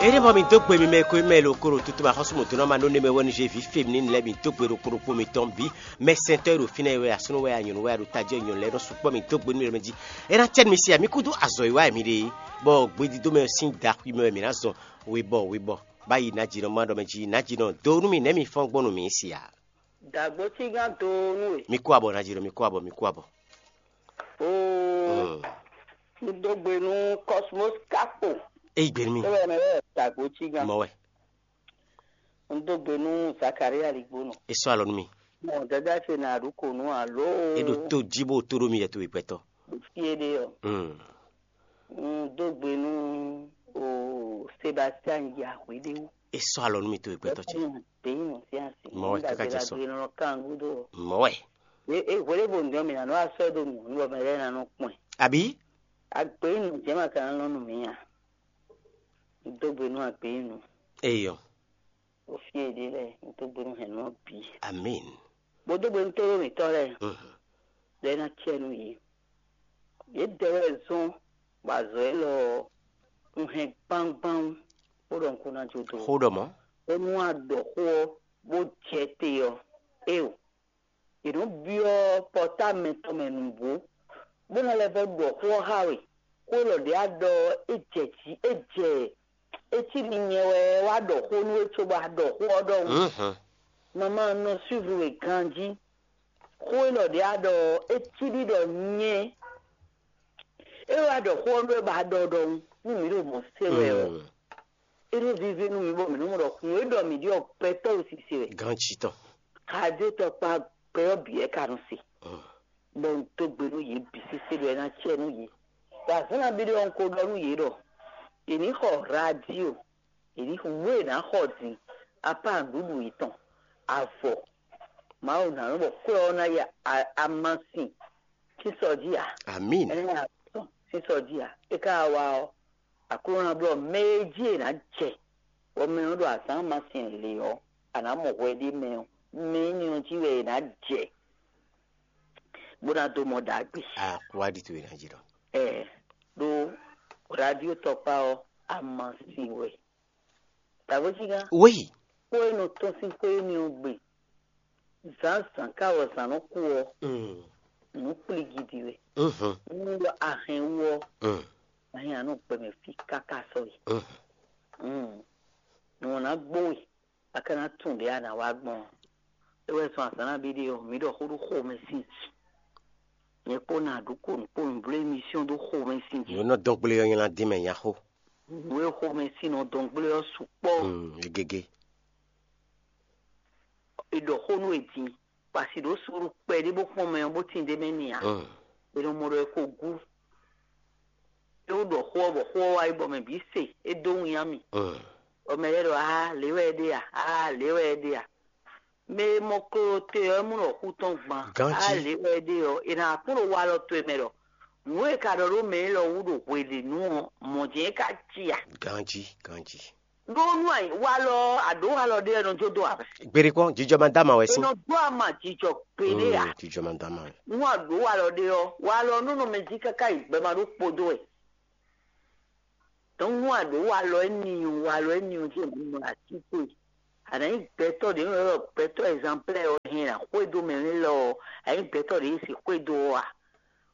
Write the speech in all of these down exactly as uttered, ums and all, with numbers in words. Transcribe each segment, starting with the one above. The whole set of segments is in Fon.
Ényí bɔ mi dó gbe mi mɛ e ko mɛ lo koro tutu ma xɔ́sú mɔ̌ dó ná ma nú ne mɛ wɛ nú Jévi féminin lɛ́ɛ, mi dó gbe ɖokpó ɖokpó mitɔn bǐ. Mɛ sɛntɔ́ e ɖo fínɛ́ é wɛ, asúnú wɛ, anyǔnú wɛ, aɖo tají wɛ, nyɔ̌nu lɛ́ɛ nɔ sukpɔ́, mi dó gbe nú mi ɖɔ mɛ jí. É ná cɛ nú mi sia mi kúdú azɔ̌ e wa wɛ mi ɖe é, bɔ gbedídó mɛ sín daxwi mɛ wɛ mi ná zɔn. Webɔ webɔ, bá yi nǎjínɔ ma ɖɔ mɛ jí, nǎjínɔ dó nú mi nɛ̌ mi fɔ́n gbɔn nú mi sia. Dǎgbócígán dó nú we. Mi kú abɔ nǎjínɔ, mi kú abɔ, mi kú abɔ. Oo, un dó gbe nú Cosmos Capo. Eyi gbe nú mi. É wɛ mɛ wɛ dǎgbócígán. Mɔ wɛ. Un dó gbe nú Zakaria Ligbónɔ. É sɔ́ alɔ nú mi. Mɔ dada ce nà ɖu kò nú alo. É ɖo tó jí bó tó ɖó mi yɛ towe gbɛtɔ. Fie ɖe ɔ. Un dó gbe nú o Sebastian Yahweh ɖe wú. É sɔ́ alɔ nú mi towe gbɛtɔ ce. Bɛyi nɔ sí asi. Mɔ wɛ kaka jɛ sɔ. Nɔ kan gúdo. Mɔ wɛ. E e hwele bo ŋdɔ mi na nɔ asɔ do nù nɔ mɛ lɛ na nɔ kpɔn. Abi. Agbe nù jẹ́ ma kan nɔ nù mí a. Dó gbe nú agbe nù. Eyɔ. Òfin èdè lɛ, dó gbe nú hɛn nɔ bí. Amin. Bó dó gbe nú tóró mǐtɔn lɛ. Mhm. Lɛ ná tiɛ nú yě. Yě dɛ wɛ zɔn bɔ azɔ̌ élɔ́ ɔ́, un hɛn gbangban bó ɖɔ un kún ná jó dó. Xó ɖɔ mɔ̌. Bónú a ɖɔ xó ɔ́ bó jɛ te ɔ́, éeǒ. È nɔ́ byɔ́ pɔ́támɛ tɔn mɛ nǔgbó, bó ná lɛ́ vɔ́ ɖɔ xó ɔ́ xá we. Xó élɔ́ ɖě a ɖɔ ɔ́, é jɛ jǐ, é jɛ é cí ɖi nyɛ wɛ wá ɖɔ xó nú we cóbɔ a ɖɔ xó ɔ́ ɖɔhun. Mhm. Mamá nɔ suivre we ganjí. Xó élɔ́ ɖě a ɖɔ ɔ́, é cí ɖi ɖɔ nyɛ é wá ɖɔ xó ɔ́ nú we bɔ a ɖɔ ɖɔhun nú mǐ ɖo mɔ̌ se wɛ ɔ́. Mm. É nɔ víví nú mǐ bɔ mǐ nɔ mɔ ɖɔ nǔ e ɖɔ mǐ ɖi ɔ́ gbɛtɔ́ ɖo sise wɛ. Ganjí tɔn. Xadé tɔkpa gbɛ ɔ́ bǐ wɛ ka nɔ se. Mm. Bɔ un dó gbe nú yě bǐ sésé ɖɔ é ná cɛ nú yě. Ɖo azǎn nabí ɖé ɔ́, un ko ɖɔ nú yě ɖɔ è ní xɔ radio, è ní wú è nǎ xɔ din apá nǔɖuɖu yětɔn, avɔ. Mawu ná nɔ bɔ kwɛ́ ɔ́ ná yi a- amasin sín sɔ jí ǎ. Amín. Ɛ ná tɔn sín sɔ jí ǎ. É ka wá ɔ́, Aklúnɔ ná blɔ́ mɛ e jí è nǎ jɛ, bɔ mɛ ɔ́ ɖo azǎn amasin lě ɔ́, a nǎ mɔ hwɛ ɖé mɛ ɔ́, mɛ énɛ́ ɔ́ jí wɛ è nǎ jɛ, bó ná dó mɔ ɖagbe. Akwáɖi towe ná jí ɖɔ. Ɛ ɖó radio tɔkpá ɔ́, amasin wɛ. Dǎvójínga. Wéyi. Xó e nɔ tɔ́n sín xó énɛ́ ɔ́ gbe. Zǎnzǎn ká wɛ zǎn nɔ kú ɔ́, Mm. Nǔ kplígídí wɛ. Mhm. Nú ɖɔ a hɛn wú ɔ́, Mm. a hɛn a nɔ gbɛmɛ fí káká sɔ́yi. Mhm. Mm. Nǔ ɔ́ ná gbó we, a ka ná tunwun ɖě a nǎ wá gbɔn ɔ́. É wɛ zɔn azǎn nabí ɖé ɔ́, mǐ ɖɔ xó ɖó xomɛ sín jǐ. Nyɛ kpó ná ɖu konu kpó nǔbló émission ɖó xomɛ sín jǐ. Nǔ e nɔ dɔn gblé ɔ́ nyɛ ná dín mɛ nya xó. Nǔ e xomɛ sín nɔ dɔn gblé ɔ́ sukpɔ́. Mm, e gégé. È ɖɔ xó nú è din, bɔ a si ɖǒ suúlu kpɛɖé bó kpɔ́n mɛ ɔ́ bó tín d'é mɛ n'i ǎ. Mm. È nɔ mɔ ɖɔ è ko gú. É wú ɖɔ xó ɔ́ bɔ xó ɔ́ wá yi bɔ mɛ bǐ se, é dó winnyá mì. Mm. Bɔ mɛ lɛ́ɛ ɖɔ: "Aa, lě wɛ é ɖe a? Aa, lě wɛ é ɖe a?" Mɛ e mɔ klo te ɔ́, é mɔ ɖɔ xú tɔn gban. Ganjí. Aa, lě wɛ é ɖe ɔ́, è nǎ kpɔ́n ɖo walɔ towe mɛ ɖɔ nǔ e è ka ɖɔ ɖó mɛ élɔ́ wú ɖo hweɖěnu ɔ́, mɔ̌ jɛ́n é ka cí a? Ganjí, ganjí. Ɖó nú walɔ ɔ́, a ɖǒ walɔ ɖé ɔ́, è nɔ jó dó ǎ. Gbeɖé kpɔ́n, jijɔ ma dá ma wɛ sín. È nɔ dó ama jijɔ gbeɖé ǎ. Mm, jijɔ ma dá ma wɛ. Nú a ɖǒ walɔ ɖé ɔ́, walɔ ɔ́ nɔ nɔ mɛ jí káká yi gbɛ ma ɖó kpódó wɛ. Donc nú a ɖǒ walɔ énɛ́ ɔ́, walɔ énɛ́ ɔ́ jí è nɔ mɔ atínkwe. A nǎ nyí gbɛtɔ́ ɖě nɔ ylɔ́ gbɛtɔ́ ɛzanplɛ́ ɔ́ hɛn ná xwedó mɛ nú élɔ́ ɔ́, a nyí gbɛtɔ́ ɖě e si xwedó ɔ́ a?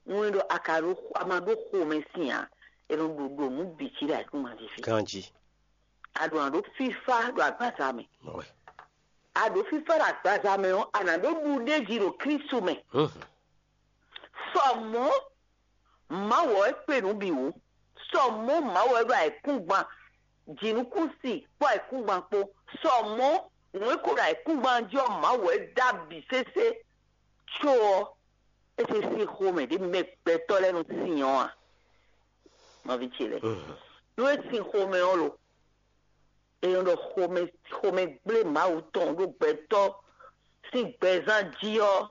Un ɖɔ a ka ɖó a ma ɖó xomɛ sín ǎ, è nɔ ɖo ɖo nǔ bǐ jí ɖo ayǐkúngban jí fí. Ganjí. A ɖo nǎ ɖó fífá ɖo agbaza mɛ. Mɔwɛ. A ɖǒ fífá ɖo agbaza mɛ ɔ́, a nǎ ɖó ɖuɖéji ɖo Klísu mɛ. Sɔ mɔ̌, Mawu ɔ́ é kpé nǔ bǐ wú. Sɔ mɔ̌, Mawu ɔ́ é ɖo ayǐkúngban, jǐnukúnsin kpó ayǐkúngban kpó. Sɔ mɔ̌, nǔ e ko ɖo ayǐkúngban jí ɔ́, Mawu ɔ́ é dó abǐ sésé. Có ɔ́, é se sín xomɛ ɖě mɛ gbɛtɔ́ lɛ́ɛ nɔ sin ɔ́ a? Nɔví ce lɛ́ɛ, nú é sin xomɛ ɔ́ lo, è nɔ ɖɔ xomɛ xomɛ gblé Mawu tɔn ɖó gbɛtɔ́ sín gbɛzán jí ɔ́,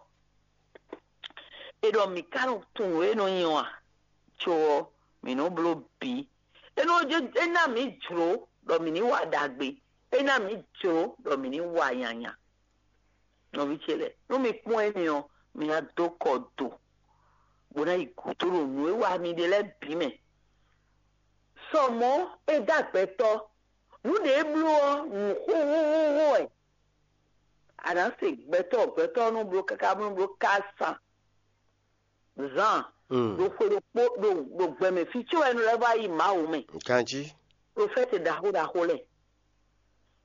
è ɖɔ mǐ ka nɔ tunwun nǔ e nɔ nyɔ́ a? Có ɔ́, mǐ nɔ bló bǐ. É nɔ é ná mǐ jlǒ ɖɔ mǐ ní wa ɖagbe, é ná mǐ jlǒ ɖɔ mǐ ní wa nyanya. Nɔví ce lɛ́ɛ, nú mi kpɔ́n énɛ́ ɔ́, mi ná dó kɔ do, bó ná yi gǔdo ɖo nǔ e wa mi ɖe lɛ́ɛ bǐ mɛ. Sɔ mɔ̌, é dó agbɛtɔ́, Nǔ ɖě bló ɔ́, nǔ xóxóxóxó wɛ. A nǎ se gbɛtɔ́, gbɛtɔ́ ɔ́ nɔ bló káká bó nɔ bló ká san zan ɖo xwe ɖokpó ɖo ɖo gbɛmɛ fí có wɛ nɔ lɛ́ vɔ yi Mawu mɛ. Ganjí. Ɖo fɛ́te ɖaxó ɖaxó lɛ́ɛ.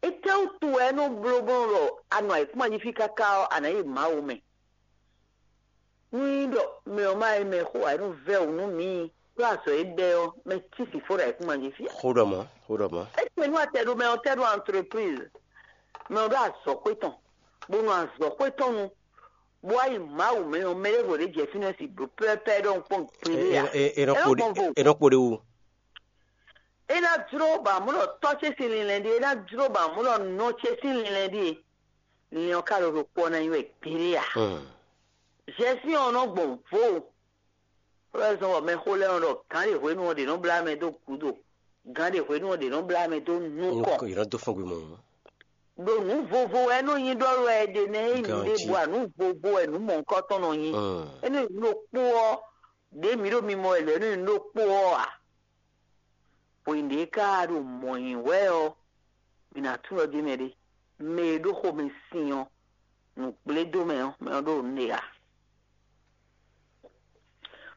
Étɛ́wútu wɛ é nɔ bló bó nɔ ɖɔ a nɔ ayǐkúngban jí fí káká ɔ́, a nǎ yi Mawu mɛ? Nú nyí ɖɔ mɛ ɔ́ ma nyí mɛ xo ǎ, é nɔ vɛ́ wǔ nú mǐ, ɖó azɔ̌ e ɖɛ ɔ́, mɛ cí sǐfó ɖo ayǐkúngban jí fí ǎ. Xó ɖɔ mɔ̌, xó ɖɔ mɔ̌. É kpe nú atɛ ɖó mɛ ɔ́ tɛ́ ɖó entreprise, mɛ ɔ́ ɖó azɔ̌xwé tɔn, bó nɔ azɔ̌xwé tɔn nu, bó wá yi Mawu mɛ ɔ́, mɛ ɖěvo ɖě jɛ fínɛ́ si blǒ pɛ́pɛ́ ɖɔhun kpɔ́n gbeɖé ǎ. É nɔ kpo ɖé wú. É ná jló ba mɔ̌ ɖɔ tɔ́ ce sín linlɛn ɖíe, é ná jló ba mɔ̌ ɖɔ nɔ ce sín linlɛn ɖíe. Linlɛn ɔ́ ka ɖo ɖokpó ɔ́ ná nyí wɛ gbeɖé ǎ. Zɛsín ɔ́ nɔ gbɔn vo. Xó lɛ́ɛ zɔ́n bɔ mɛxó lɛ́ɛ nɔ ɖɔ gǎn ɖe hwenu ɔ́ ɖě nɔ blá mɛ dó gǔdo, gǎn ɖe hwenu ɔ́ ɖě nɔ blá mɛ dó nukɔn. Yě nɔ dó fɔ́n gbe mɔ̌. Ɖo nǔ vovo wɛ é nɔ nyí ɖɔ wɛ è ɖe nɛ́ é nyí ɖěbǔ ǎ, nǔ vovo wɛ nǔ mɔ̌hunkɔtɔn nɔ nyí. É nɔ nyí ɖokpó ɔ́, ɖě mǐ ɖo mimɔ wɛ lɛ̌ nɔ nyí ɖokpó ɔ́ ǎ. Hwenu ɖě ká ɖo mɔ̌ nyi wɛ ɔ́, mǐ ná tunwun ɖɔ jɛ́n mɛ ɖé, mɛ e ɖó xomɛ sin ɔ́, nǔgblédómɛ ɔ́, mɛ ɔ́ ɖo nǔ ɖe ǎ.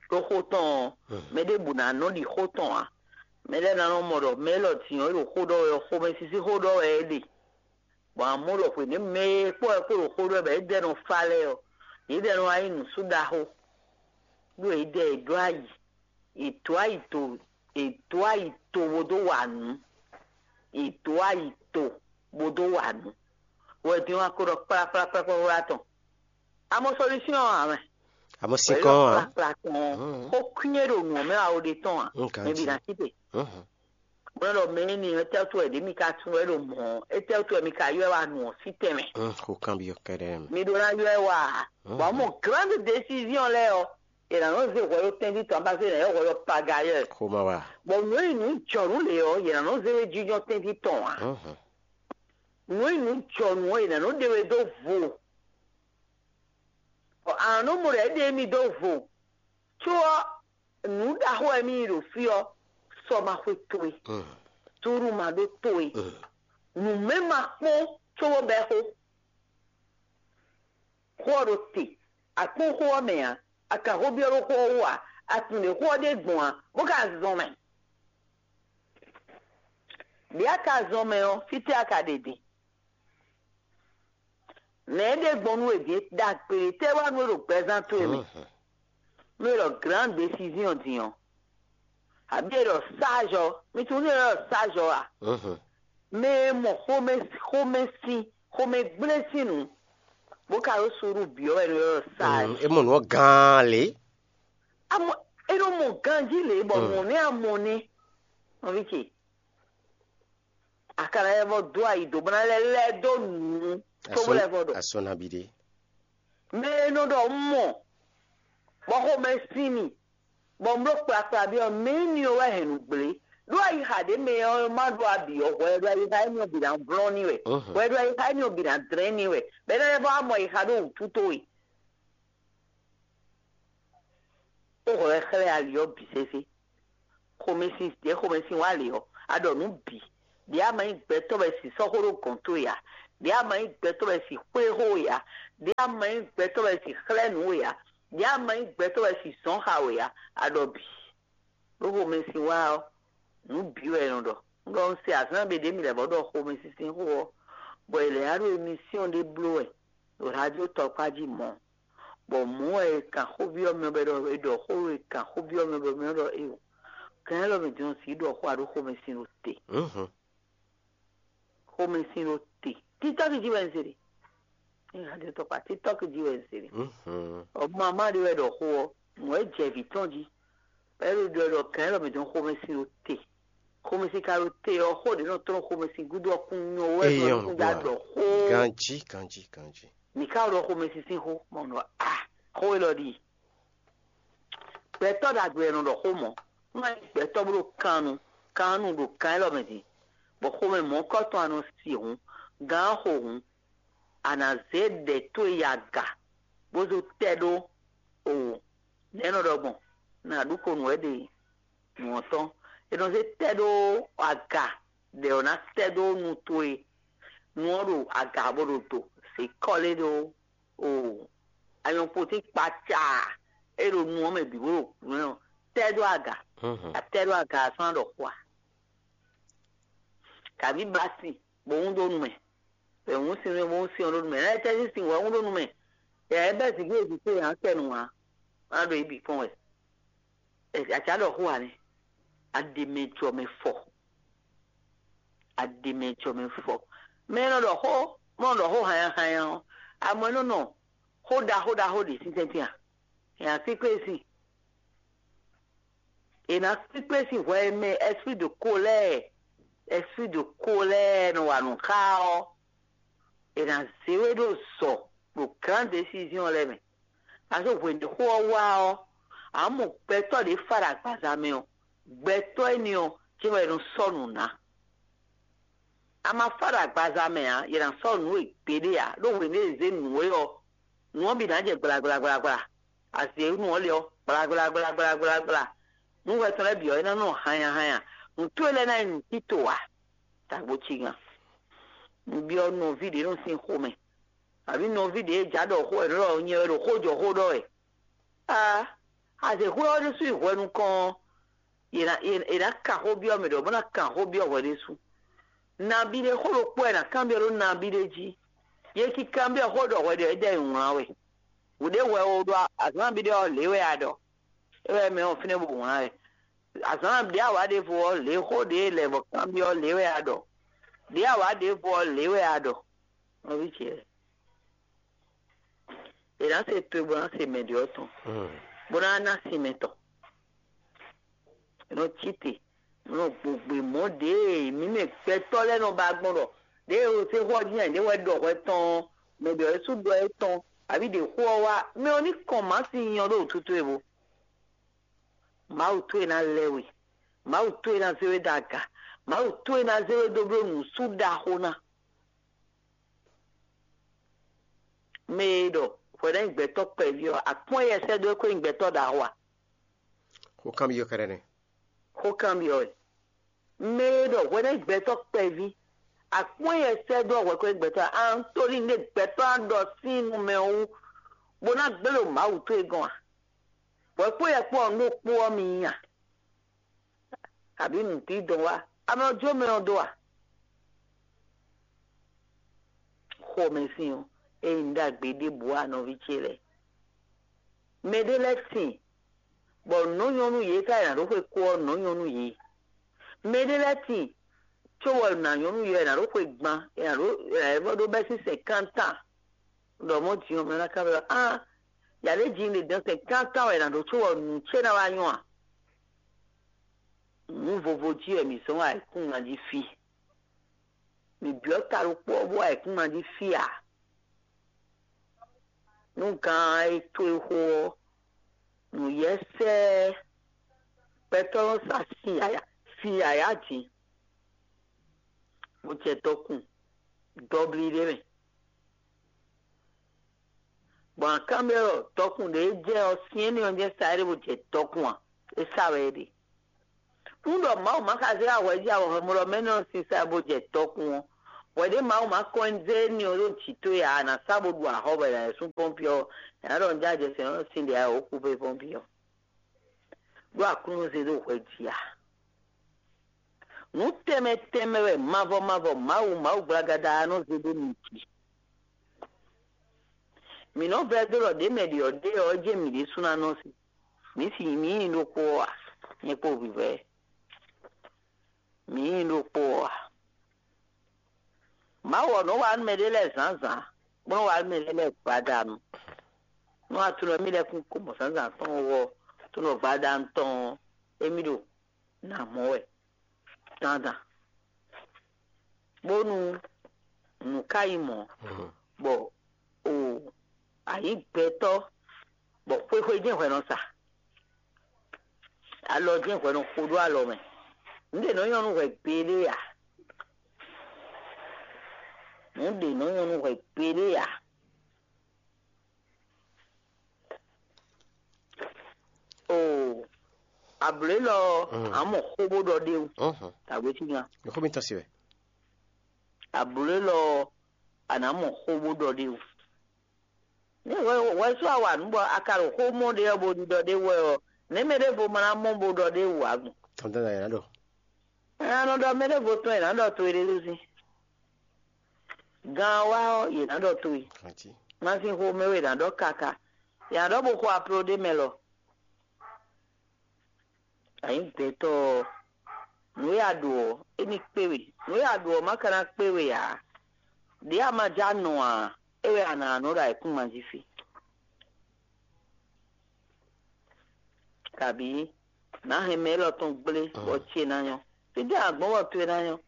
Ɖó xó tɔn ɔ́, mɛ ɖěbǔ ná nɔ ɖi xó tɔn ǎ. Mɛ lɛ́ɛ ná nɔ mɔ ɖɔ mɛ élɔ́ din ɔ́, é ɖo xó ɖɔ wɛ ɔ́, xomɛsísí xó ɖɔ wɛ é ɖe. Bɔ amɔ̌ ɖɔ hwěɖěmɛ e kpɔ́ wɛ kpó ɖo xó ɖɔ wɛ bɔ é dɛ nɔ fa lɛ́ɛ ɔ́, yědɛɛ nɔ wá nyí nǔsúɖaxó, ɖó yědɛɛ è ɖó ayǐ, è dǒ ayǐ to, è dǒ ayǐ to bó dó wa nǔ, è dǒ ayǐ to bó dó wa nǔ. Wɛ din wá ko ɖɔ kplakplakplakpla tɔn. Amɔ solution ɔ́ ǎ mɛ. Amɔ sinkɔn ɔ́ ǎ. Kplakpla tɔn ɔ́, xó kwín e ɖo nǔ ɔ́ mɛ wá wo ɖe tɔn ǎ. Mɛ bǐ ná sí te. Bó nɔ ɖɔ mɛ énɛ́ ɔ́, tɛ́ wútu wɛ ɖě mi ka tunwun wɛ ɖo mɔ̌ ɔ́? Étɛ́ wútu wɛ mi ka ylɔ́ ɛ wá nu ɔ́ sí tɛnmɛ? Xó kanbyɔ́ kɛ́ɖɛ́ mɛ. Mi ɖó ná ylɔ́ ɛ wá ǎ. Bɔ mɔ grande décision lɛ́ɛ ɔ́, è nǎ nɔ zé hwɛ ɖó tɛ́nví tɔn ǎ, bá zé nǎ ylɔ́ hwɛ ɖɔ pagayɛ́. Xó ma wa. Bɔ nǔ e nyí nǔ jɔnǔ lě ɔ́, è nǎ nɔ zé we jínjɔ́n tɛ́nví tɔn ǎ. Nǔ e nyí nǔ jɔnǔ ɔ́, è nǎ nɔ ɖe we dó vo. Bɔ a nǎ nɔ mɔ ɖɔ é ɖe émí dó vo. Có ɔ́, nǔ ɖaxó wɛ mì yi ɖo fí ɔ́, sɔ ma xwe towe, túɖú ma ɖó towe, nǔmɛ ma kpɔ́n cóbó bɛ́ xó. Xó ɔ́ ɖo te, a kpɔ́n xó ɔ́ mɛ ǎ, a ka xó byɔ́ ɖó xó ɔ́ wú ǎ, a tunwun ɖě xó ɔ́ ɖe gbɔn ǎ, bó ka zɔn mɛ. Ɖě a ka zɔn mɛ ɔ́, fítɛ́ a ka ɖe din? Nɛ̌ é ɖe gbɔn nú we din? Ɖagbe tɛ́ wá nú we ɖo gbɛzán towe mɛ? Nú e ɖɔ grande décision din ɔ́, abǐ e ɖɔ sage ɔ́, mi tunwun nú e ɖɔ sage ɔ́ a? Mɛ e mɔ xomɛ xomɛ sín xomɛ gblé sín nǔ, bó ka ɖó suɖu byɔ́ wɛ nú e ɖɔ sage. É mɔ nǔ ɔ́ gán lě. Amɔ é nɔ mɔ ganjí lě bɔ mɔ̌ nɛ́ a mɔ nɛ́. Nɔví ce, a ka ná lɛ́ vɔ dó ayi dǒ bó ná lɛ́ lɛ́ dó nǔ tó bó lɛ́ vɔ ɖɔ. Asɔ́ nabí ɖé. Mɛ e nɔ ɖɔ un mɔ, bɔ xomɛ sín mì, bɔ un bló kplakpla byɔ́ mɛ énɛ́ ɔ́ wɛ hɛn nǔ gblé. Ɖó ayixa ɖě mɛ ɔ́ má ɖó abǐ ɔ́, hwɛ ɖó ayixa énɛ́ ɔ́ bǐ ná vlɔ́n n'i wɛ. Hwɛ ɖó ayixa énɛ́ ɔ́ bǐ ná dlɛ́n n'i wɛ. Bɔ é ná lɛ́ vɔ wá mɔ ayixa ɖó wǔtu towe. Ó hwɛ wɛ xlɛ́ ali ɔ́ bǐ sésé. Xomɛsin ɖě xomɛsin wá lě ɔ́, a ɖɔ nǔ bǐ. Ɖě a ma nyí gbɛtɔ́ wɛ si sɔ́ xó ɖó gɔ̌n towe ǎ. Ɖě a ma nyí gbɛtɔ́ wɛ si xwlé xó we ǎ. Ɖě a ma nyí gbɛtɔ́ wɛ si xlɛ́ nǔ we ǎ. Ɖě a ma nyí gbɛtɔ́ wɛ si zɔ̌n xa we ǎ. A ɖɔ bǐ. Ɖó xomɛsin wá ɔ́, nǔ bǐ wɛ è nɔ ɖɔ. Un ɖɔ un se azǎn ɖé ɖě mi lɛ́ vɔ ɖɔ xomɛsinsin xó ɔ́, bɔ è lɛ̌ wá ɖo emisíɔn ɖé bló wɛ ɖo radio tɔkpá jí mɔ̌. Bɔ mɔ̌ wɛ è kan xó byɔ́ mɛ bɔ è ɖɔ è ɖɔ xó e kan xó byɔ́ mɛ bɔ mɛ ɔ́ ɖɔ éyo. Kan élɔ́ mɛ din ɔ́ sǐ ɖɔ xó a ɖó xomɛsin ɖo te. Xomɛsin ɖo te. Títɔ́ jí wɛ un se ɖe. Nya ɖe tɔkpa títɔ́ jí wɛ un se ɖe. Ɔ mama ɖé wɛ ɖɔ xó ɔ́, mɔ̌ wɛ jɛ vǐ tɔn jí. Bɔ é ɖo ɖɔ ɖɔ kan élɔ́ mɛ din ɔ́ xomɛsin ɖo te. Xomɛsin ka ɖo te ɔ́, xó ɖě nɔ tlɔ́n xomɛsin gúdo ɔ́ kún nyɔ wɛ Eyɔn ɖɔ nukún da gbɔ. Ɖɔ xó. Ganjí, ganjí, ganjí. Mǐ ka ɖɔ xomɛsin sín xó, mɔ nɔ a xó élɔ́ ɖi. Gbɛtɔ́ ɖagbe wɛ nɔ ɖɔ xó mɔ̌. Nú a nyí gbɛtɔ́ bó ɖo kan nu, kan nu ɖo kan élɔ́ mɛ din, bɔ xomɛ mɔ̌kɔ́tɔn a nɔ si hǔn, gǎn xo hǔn, a nǎ zé ɖɛ towe yi aga, bó zó tɛ́ ɖó o nɛ̌ nɔ ɖɔ gbɔn, nǎ ɖu ko nǔ wɛ ɖe nǔ ɔ́ tɔn. È nɔ zé tɛ́ ɖó aga ɖɛ ɔ́ ná tɛ́ dó nu towe. Nu ɔ́ ɖo aga bó ɖo do, zě kɔ́lé ɖó o anyɔkpotín kpacaa e ɖo nu ɔ́ mɛ bǐ bó ɖo nǔ ɔ́ tɛ́ dó aga. Atɛ́ dó aga ɔ́ sɔ́ ná ɖɔ xó a? Kaví ba sin bó hún dó nu mɛ, bɛ hún sin bó hún sin ɔ́ ɖó nu mɛ. Lɛ́ tɛ́ sín sin wɛ hún dó nu mɛ. Yɛ é bɛ́ zǐngíwe zǐn xó yǎ kɛ nǔ ǎ. Má ɖo yí bǐ kpɔ́n wɛ. Acǎ ɖɔ xó ǎ nɛ́. A ɖe mɛ jɔ mɛ fɔ. A ɖe mɛ jɔ mɛ fɔ. Mɛ e nɔ ɖɔ xó, mɔ ɖɔ xó hanya hanya ɔ́, amɔ é nɔ nɔ xó ɖaxó ɖaxó ɖě sín tɛ́ntin a? È nǎ kpíkpé sin. È nǎ kpíkpé sin hwɛ e mɛ esprit de colère, esprit de colère nɔ wa nǔ xá ɔ́, è nǎ zé we ɖo zɔ ɖo grand décision lɛ́ɛ mɛ. Aso hwenu xó ɔ́ wá ɔ́, a mɔ gbɛtɔ́ ɖě fa ɖo agbaza mɛ ɔ́, gbɛtɔ́ énɛ́ ɔ́, cé wɛ è nɔ sɔ́ nǔ ná. A ma fa ɖo agbaza mɛ ǎ, yě ná sɔ́ nǔ we gbeɖé ǎ, ɖó hwenu e è zě nǔ é ɔ́, nǔ ɔ́ bǐ ná jɛ gblagblagblagbla. A zě nǔ ɔ́ lě ɔ́, gblagblagblagblagbla. Nǔ hwɛ tɔn lɛ́ɛ bǐ ɔ́, é ná nɔ hanya hanya. Nǔ towe lɛ́ɛ ná nyí nǔ tito ǎ. Tagbo cigan. Un byɔ́ nɔví ɖě nɔ sín xomɛ, abǐ nɔví ɖě e jǎ ɖɔ xó wɛ, nǔ ɖɔ nyɛ wɛ ɖo xó jɔ xó ɖɔ wɛ. Aa, azěxwé ɔ́ ɖésú yi hwɛ nukɔn ɔ́, è nǎ è nǎ kan xó byɔ́ mɛ ɖɔ bó ná kan xó byɔ́ hwɛ ɖésú. Nabí ɖé xó ɖokpó wɛ è nǎ kanbyɔ́ ɖó nabí ɖé jí. Yě cí kanbyɔ́ xó ɖɔ hwɛ ɖɔ é ɖɔ è wlán we. Wǔ ɖé hwɛ o ɖɔ azǎn nabí ɖé ɔ́ lě wɛ a ɖɔ. É wɛ mɛ ɔ́ fínɛ́ bó wlán wɛ. Azǎn ɖě a wǎ ɖěvo ɔ́, lě xó ɖě lɛ̌ bɔ kanbyɔ́ lě wɛ a ɖɔ. Ɖě a wǎ ɖěvo ɔ́, lě wɛ a ɖɔ. Nɔví ce lɛ́ɛ, è nǎ se to e bó ná se mɛ ɖě ɔ́ tɔn, bó ná ná sin mɛ tɔn. È nɔ cí te, è nɔ gbogbe mɔ̌ ɖěe mǐ mɛ gbɛtɔ́ lɛ́ɛ nɔ ba gbɔn ɖɔ ɖěe e sexɔ jí nyi ɖě wɛ ɖɔ hwɛ tɔn ɔ́, mɛ ɖɔ é sú ɖɔ é tɔn, abǐ ɖě xó ɔ́ wá, mɛ ɔ́ ní kɔn mǎ sin nyɔ ɖó wǔtu towe bo. Mawu towe ná lɛ́ we, Mawu towe ná zé we ɖó aga, Mawu towe ná zé we dó bló nǔsú ɖaxó ná. Mɛ e ɖɔ hwɛ ná nyí gbɛtɔ́ kpɛví ɔ́, akpɔ́n yɛ sɛ́ dó é kó nyí gbɛtɔ́ ɖaxó a? Xó kanbyɔ́ kɛ́ɖɛ́ nɛ́. Xó kanbyɔ́ wɛ. Mɛ e ɖɔ hwɛ ná nyí gbɛtɔ́ kpɛví, akpɔ́n yɛ sɛ́ dó hwɛ kó nyí gbɛtɔ́ a? Antolín ɖé gbɛtɔ́ á ɖɔ sín nu mɛ wú, bó ná gblé ɖo Mawu towe gɔ́n a? Hwɛ kpó yɛ kpó ɔ́, nú kpó ɔ́ mi nyí a? Abǐ nǔdídɔn wá? Ame ɔ́ jó mɛ ɔ́ dó a? Xomɛsin ɔ́, ényí un ɖagbe ɖěbǔ ǎ nɔví ce lɛ́ɛ. Mɛɖé lɛ́ɛ tíin, bɔ nǔ nyɔ́ nú yě ká è nǎ ɖó xwe kó ɔ́, nǔ nyɔ́ nú yě. Mɛɖé lɛ́ɛ tíin, có wɔ nǎ nyɔ́ nú yě è nǎ ɖó xwe gban, è nǎ ɖó è nǎ ɖó bɛ́ sín sɛn kántán. Ɖɔ mɔ̌ din ɔ́, mɛ ná ká ɖɔ á, yǎ ɖé jǐ ɖě dɔn sɛn kántán wɛ è nǎ ɖó có wɔ nǔ ce ná wá nyɔ́ a? Nǔ vovo jí wɛ mǐ zɔ́n ayǐkúngban jí fí. Mǐ byɔ́ ta ɖokpó ɔ́ bó ayǐkúngban jí fí ǎ. Nú gǎn e towe xo ɔ́, nǔyɛ́sɛ́ gbɛtɔ́ nɔ sa sin yǎyá, sin yǎyá din, bó jɛ dɔkun dɔblí ɖé mɛ. Bɔ a kanbyɔ́ ɖɔ dɔkun ɖě jɛ ɔ́, sin énɛ́ ɔ́ jɛ sa é ɖé bó jɛ dɔkun a? É sa wɛ é ɖe. Un ɖɔ Mawu ma ka zé ahwɛjí ahwɛhwɛmlɔmɛ nɔ sin sa bó jɛ dɔkun ɔ́, hwɛɖé Mawu ma kɔn zé énɛ́ ɔ́ ɖó jǐ towe ǎ, a nǎ sa bó ɖu axɔ́ bɔ è nǎ yi sú pɔ́npi ɔ́, è nǎ ɖɔ un jɛ ajɛ sɛn ɔ́ sin ɖě a wǒ kú fé pɔ́npi ɔ́. Ɖó Aklúnɔ zé ɖó hwɛ jí a? Nǔ tɛnmɛ tɛnmɛ wɛ mavɔ mavɔ Mawu Mawu gblagada ɔ́ nɔ zé ɖó mi jí. Mǐ nɔ vɛ́ dó ɖɔ ɖě mɛ ɖě ɔ́ ɖe ɔ́, é jɛ́n mǐ ɖésú ná nɔ sin. Mǐ sin mǐ nyí ɖokpó ɔ́ a? Nyɛ kpó vǐvɛ́ mǐ nyí ɖokpó ɔ́ a? Mawu ɔ́ nɔ wa nú mɛɖé lɛ́ɛ zǎnzǎn, bó nɔ wa nú mɛɖé lɛ́ɛ gbadanu. Nú a tunɔ émí lɛ́ɛ kún ko mɔ zǎnzǎn tɔn ɔ́, tunɔ gbadanu tɔn ɔ́, émí ɖo nǎ mɔ wɛ dandan, bónú nǔ ka nyí mɔ̌, bɔ o a nyǐ gbɛtɔ́, bɔ xwéxwé jɛ́n hwɛ nɔ sa, alɔ jɛ́n hwɛ nɔ xo ɖó alɔ mɛ. Nǔ ɖě nɔ nyɔ́ nú hwɛ gbeɖé ǎ. Nǔ ɖě nɔ nyɔ́ nú hwɛ gbeɖé ǎ. Oo, Ablǒ élɔ́ ɔ́, a mɔ xó bó ɖɔ ɖ'é wú. Tagbe cí gán. Xó mitɔn se wɛ. Ablǒ élɔ́ ɔ́, a nǎ mɔ xó bó ɖɔ ɖ'é wú. Ní hwɛ hwɛ sú a wa nǔ bɔ a ka ɖo xó mɔ ɖé ɔ́ bó ɖiɖɔ ɖ'é wú wɛ ɔ́, nɛ̌ mɛ ɖěvo ma ná mɔ bó ɖɔ ɖ'é wú ǎ gbɔn? Tɔntɔn ná ɖɔ. Nya nɔ ɖɔ mɛ ɖěvo tɔn e nǎ ɖɔ to e ɖé ɖó sín. Gan ɔ́ wá ɔ́, yě ná ɖɔ to e. Masin xomɛ wɛ è nǎ ɖɔ káká. Yě ná ɖɔ bó xo apló ɖé mɛ lɔ. Anyǐgbɛ́tɔ́ ɔ́, nǔ e a ɖo ɔ́, é ní kpé we. Nǔ e a ɖo ɔ́, má ka ná kpé we ǎ. Ɖě a ma já nɔ ǎ, é wɛ a nǎ nɔ ɖo ayǐkúngban jí fí. Kabǐ nǎ hɛn mɛ élɔ́ tɔn gblé bɔ ce ná nyɔ́. Fítɛ́ a gbɔn bɔ towe ná nyɔ́?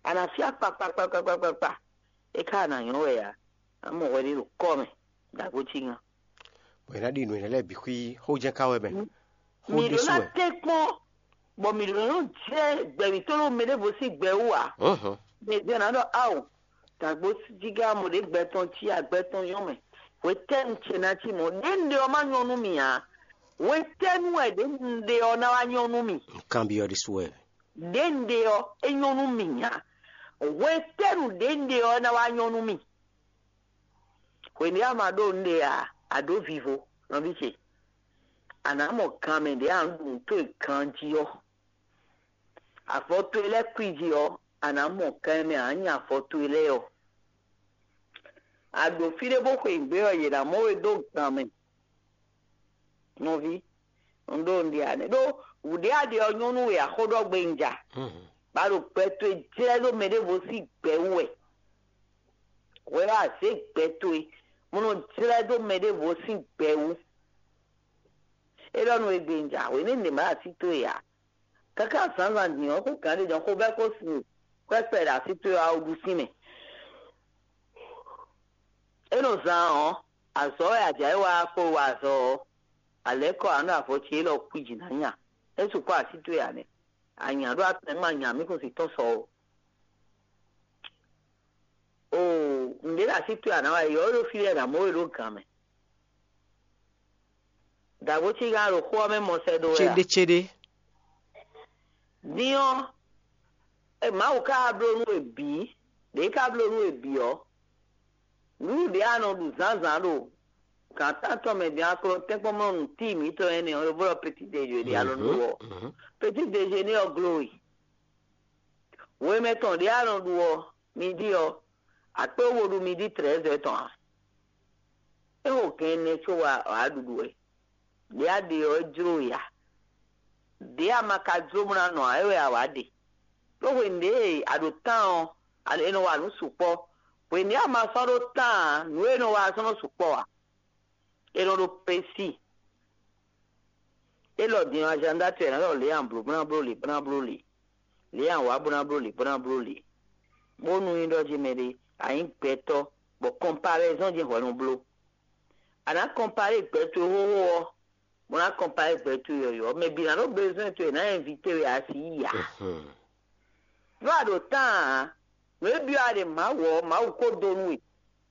A nǎ fí akpa kpakpakpakpakpa. É ka ná nyɔ́ wɛ ǎ. A mɔ hwɛ ɖé ɖo kɔ́ mɛ, ɖo agbo cí ŋa. Bɔ è nǎ ɖi nǔ énɛ́ lɛ́ɛ bǐ xwí xójɛ́n ka wɛ mɛ. Xó Mi ɖó ɖésú ná wɛ. Tɛ́ kpɔ́n, bɔ mi ɖó nɔ jɛ gbɛ̌ mǐtɔn ɖo mɛ ɖěvo sín gbɛ wú ǎ. Hǔn hǔn. Mi jɛ nǎ ɖɔ ao, dǎgbó jígá mɔ ɖě gbɛ tɔn cí agbɛ tɔn nyɔ́ mɛ. Hwetɛ́nu ce ná cí mɔ̌? Ɖě un ɖe ɔ́ má nyɔ́ nú mì ǎ. Hwetɛ́nu wɛ ɖě un ɖe ɔ́ ná wá nyɔ́ nú mì? Un kanbyɔ́ ɖésú wɛ. Ɖě un ɖe ɔ́, é nyɔ́ nú mì ǎ. Hwetɛ́nu ɖě un ɖe ɔ́ ná wá nyɔ́ nú mì? Hwenu e a ma ɖó nǔɖé ǎ, a ɖǒ vivo, nɔví ce. A nǎ mɔ gan mɛ ɖě a nǎ ɖu nǔ towe ganjí ɔ́. Avɔ towe lɛ́ɛ kwíji ɔ́, a nǎ mɔ gan e mɛ a nǎ nya avɔ towe lɛ́ɛ ɔ́. A ɖo fí ɖé bó xweyǐgbe ɔ́, yě ná mɔ we dó gan mɛ. Nɔví, un ɖó un ɖe ǎ nɛ́. Ɖó wǔ ɖé a ɖe ɔ́ nyɔ́ nú we axó ɖɔ gbe un ja. Ba ɖo gbɛ towe jlɛ́ ɖó mɛ ɖěvo sín gbɛ wú wɛ. Hwɛ ɔ́, a zě gbɛ towe, bó nɔ jlɛ́ dó mɛ ɖěvo sín gbɛ wú. É ɖɔ nú we gbe un ja, hwenu e un ɖe mǎ ɖo así towe ǎ. Káká zǎnzǎn din ɔ́, xó gǎn ɖé jɔn xó bɛ́ kó sin kwɛ́kpɛ ɖo así towe ɔ́, a wú ɖu sín mɛ. É nɔ zán ɔ́, azɔ̌ wɛ a jǎ é wá kpó wa azɔ̌ ɔ́, a lɛ̌ kɔ ǎ nú avɔ ce élɔ́ kwíji ná nya. É sukpɔ́ así towe ǎ nɛ́. A nya ɖó atɛn ma nya mǐ kún si tɔ́n sɔ ó. Oo, nǔɖé ɖo así towe ǎ ná wá, yɔ̌ ɖo fí lɛ́ɛ ná mɔ we ɖó gǎn mɛ. Dǎgbó cí gán ɖo xó ɔ́ mɛ mɔ sɛ́ dó wɛ a? Céɖécéɖé. Din ɔ́, e Mawu ka wá bló nú we bǐ, ɖě ka bló nú we bǐ ɔ́, nǔɖuɖu ɖě a nɔ ɖu zǎnzǎn ɖo gǎn tántɔn mɛ din a ko nɔ tɛ́nkpɔ́n mɔ nǔ tíi mǐtɔn énɛ́ ɔ́, é blɔ́ petit déjeuner ɖě a nɔ ɖu ɔ́. Petit déjeuner ɔ́ gló we. Hwemɛ tɔn ɖě a nɔ ɖu ɔ́, midi ɔ́, a kpé wú bo ɖu midi trɛ̌zɛ́ tɔn ǎ. É xo gɛn ɛnɛ có wá wǎ ɖuɖu wɛ. Ɖě a ɖe ɔ́, é jló we ǎ. Ɖě a ma ka jló bó ná nɔ ǎ, é wɛ a wǎ ɖe. Ɖó hwenu ɖě e a ɖo tán ɔ́, a- è nɔ wa nǔ sukpɔ́. Hwenu ɖě a ma sɔ́ ɖó tán ǎ, nǔ e è nɔ wa ɔ́ sɔ́ nɔ sukpɔ́ ǎ. È nɔ ɖo prési. Élɔ́ din ɔ́, azǎn dó atɔ́ ɛ ná ɖɔ lě a blǒ bó ná bló lě bó ná bló lě, lě a wǎ bó ná bló lě bó ná bló lě, bónú nyí ɖɔ jí mɛɖé a nyǐ gbɛtɔ́, bɔ kɔnpalɛzɔ́n jí hwɛ nɔ bló. A nǎ kɔnpalé gbɛ towe xóxó ɔ́, bó ná kɔnpalé gbɛ towe yɔ̌yɔ́. Mɛ bǐ ná ɖó bezwɛ́n towe ná ɛnvité we asi yi ǎ. Nú a ɖo tán ǎ, nǔ e byɔ́ a ɖe Mawu ɔ́, Mawu ko dó nú we.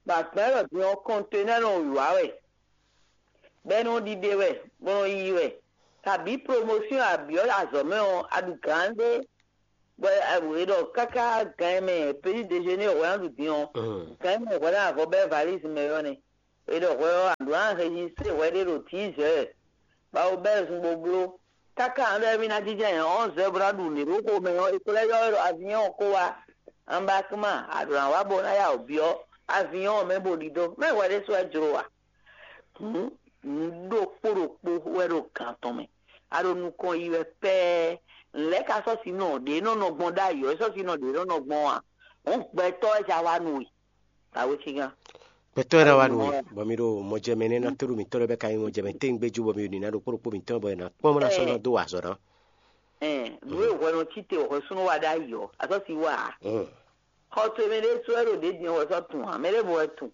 Bɔ agbɛ̌ élɔ́ din ɔ́, kɔntɛnɛ́ nɔ wǐwá wɛ, bɔ é nɔ ɖiɖe wɛ, bɔ nɔ yiyi wɛ. Kabǐ promosíɔn a byɔ́ azɔ̌ mɛ ɔ́, a ɖu gǎn ɖé, bɔ è ɖɔ káká gan e mɛ petit déjeuner hwɛ ná ɖu din ɔ́, gan e mɛ hwɛ ná avɔ bɛ́ valízi mɛ ɔ́ nɛ́. È ɖɔ hwɛ ɔ́, a ɖǒ ná rejistre hwɛ ɖé ɖo dix heures, bɔ a ko bɛ́ zun bó bló. Káká ǎ ɖɔ émí ná jínjɔ́n ayǐ onze heures bó ná ɖu nǔɖé ɖó xomɛ ɔ́, è ko lɛ́ ylɔ́ we ɖɔ aviɔ́n ɔ́ ko wá. Anbakma, a ɖǒ ná wá bó ná ya wǔ byɔ́ aviɔ́n ɔ́ mɛ bó ɖidó. Mɛ hwɛ ɖésú wɛ jló a? Hǔn, nǔ ɖokpó ɖokpó wɛ ɖo gǎn tɔn mɛ. A ɖo nukɔn yi wɛ pɛ́ɛ. Nǔ lɛ́ɛ ka sɔ́ si nɔ ɖě nɔ nɔ gbɔn ɖ'ayǐ ɔ́, é sɔ́ si nɔ ɖě nɔ nɔ gbɔn a? Hǔn gbɛtɔ́ wɛ ja wá nú we. Awécígán. Gbɛtɔ́ e ná wá nú we, bɔ mi ɖo mɔjɛmɛ nɛ́ ná tóɖo mǐtɔn lɛ́ɛ bɛ ka nyí mɔjɛmɛ téngbéjú, bɔ mi ɖo nǐ ná ɖo kpó ɖokpó mǐtɔn, bɔ è nǎ kpɔ́n bó ná sɔ́ ná dó wa azɔ̌ ná. Ɛn, nǔ e hwɛ nɔ cí te wɔ hwɛsúnú wa ɖ'ayǐ ɔ́, a sɔ́ si wa ǎ. Xɔ towe mɛ ɖé sɔ́ wɛ ɖo ɖě din wɛ sɔ́ tun ǎ, mɛ ɖěvo wɛ tun.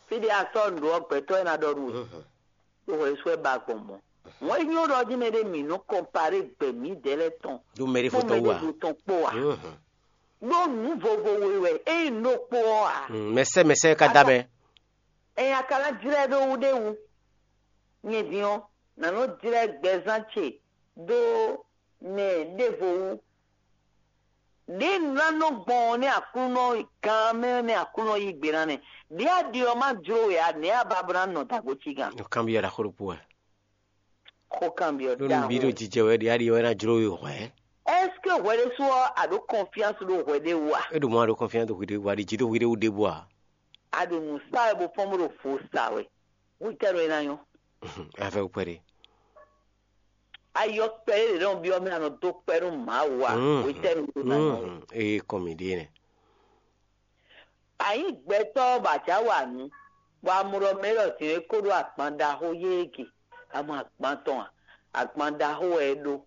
Fí ɖé a sɔ́ nǔ ɖó ɔ́, gbɛtɔ́ e ná ɖɔ nú we. Ɖó hwɛsú wɛ ba gbɔn mɔ̌. Wọ́n nyí ɖɔ jí mɛ ɖé mǐ nɔ kɔnparé gbɛ mǐdɛɛ lɛ́ɛ tɔn Ɖó mɛ ɖěvo kpó tɔn mɛ wú ǎ. Ɖěvo tɔn kpó ǎ. Ɖó nǔ vovo we wɛ, ényí nǔ ɖokpó ɔ́ ǎ. Mɛsɛ́ mɛsɛ́ ka dá mɛ. Ɛn a ka ná jlɛ́ ɖó wú ɖé wú. Nyɛ din ɔ́, nǎ nɔ jlɛ́ gbɛzán ce dó nɛ ɖěvo wú. Ɖě un ná nɔ gbɔn ɔ́ nɛ́ Aklúnɔ gán mɛ nɛ́ Aklúnɔ yí gbe ná nɛ́. Ɖě a ɖi ɔ́ má jló we ǎ, nɛ̌ a ba bó ná nɔ dǎgbo cí gán? Nǔkanbyɔ́ ɖaxó ɖokpó wɛ. Xó kanbyɔ́ ɖó nǔ bǐ ɖo ɖaxó. Jijɛ wɛ ɖě a ɖi ɔ́ é ná jló we hwɛ̌. Est-ce que hwɛ ɖésú ɔ́ a ɖǒ confiance ɖó hwɛ ɖé wú a? É ɖo mɔ a ɖo confiance ɖo hwi ɖé wú a? Ɖi jǐ ɖo hwi ɖé wú ɖěbǔ a? A ɖo nǔ sa wɛ bó fɔ́n bó ɖo vo sa wɛ. Hwetɛ́nu é ná nyɔ́? Afɛ kpɛɖé. Ayɔ kpɛɖé ɖě nɔ byɔ́ mɛ a nɔ dó kpɛ́ nú Mawu a? Hwetɛ́nu é ná nyɔ́? Ée kɔn mǐ ɖíe nɛ́. A nyǐ gbɛtɔ́ bɔ a jǎ wa nǔ, bɔ a mɔ ɖɔ mɛ élɔ́ din é kó ɖó agban ɖaxó yéé ge, a mɔ agban tɔn a? Agban ɖaxó wɛ é ɖó.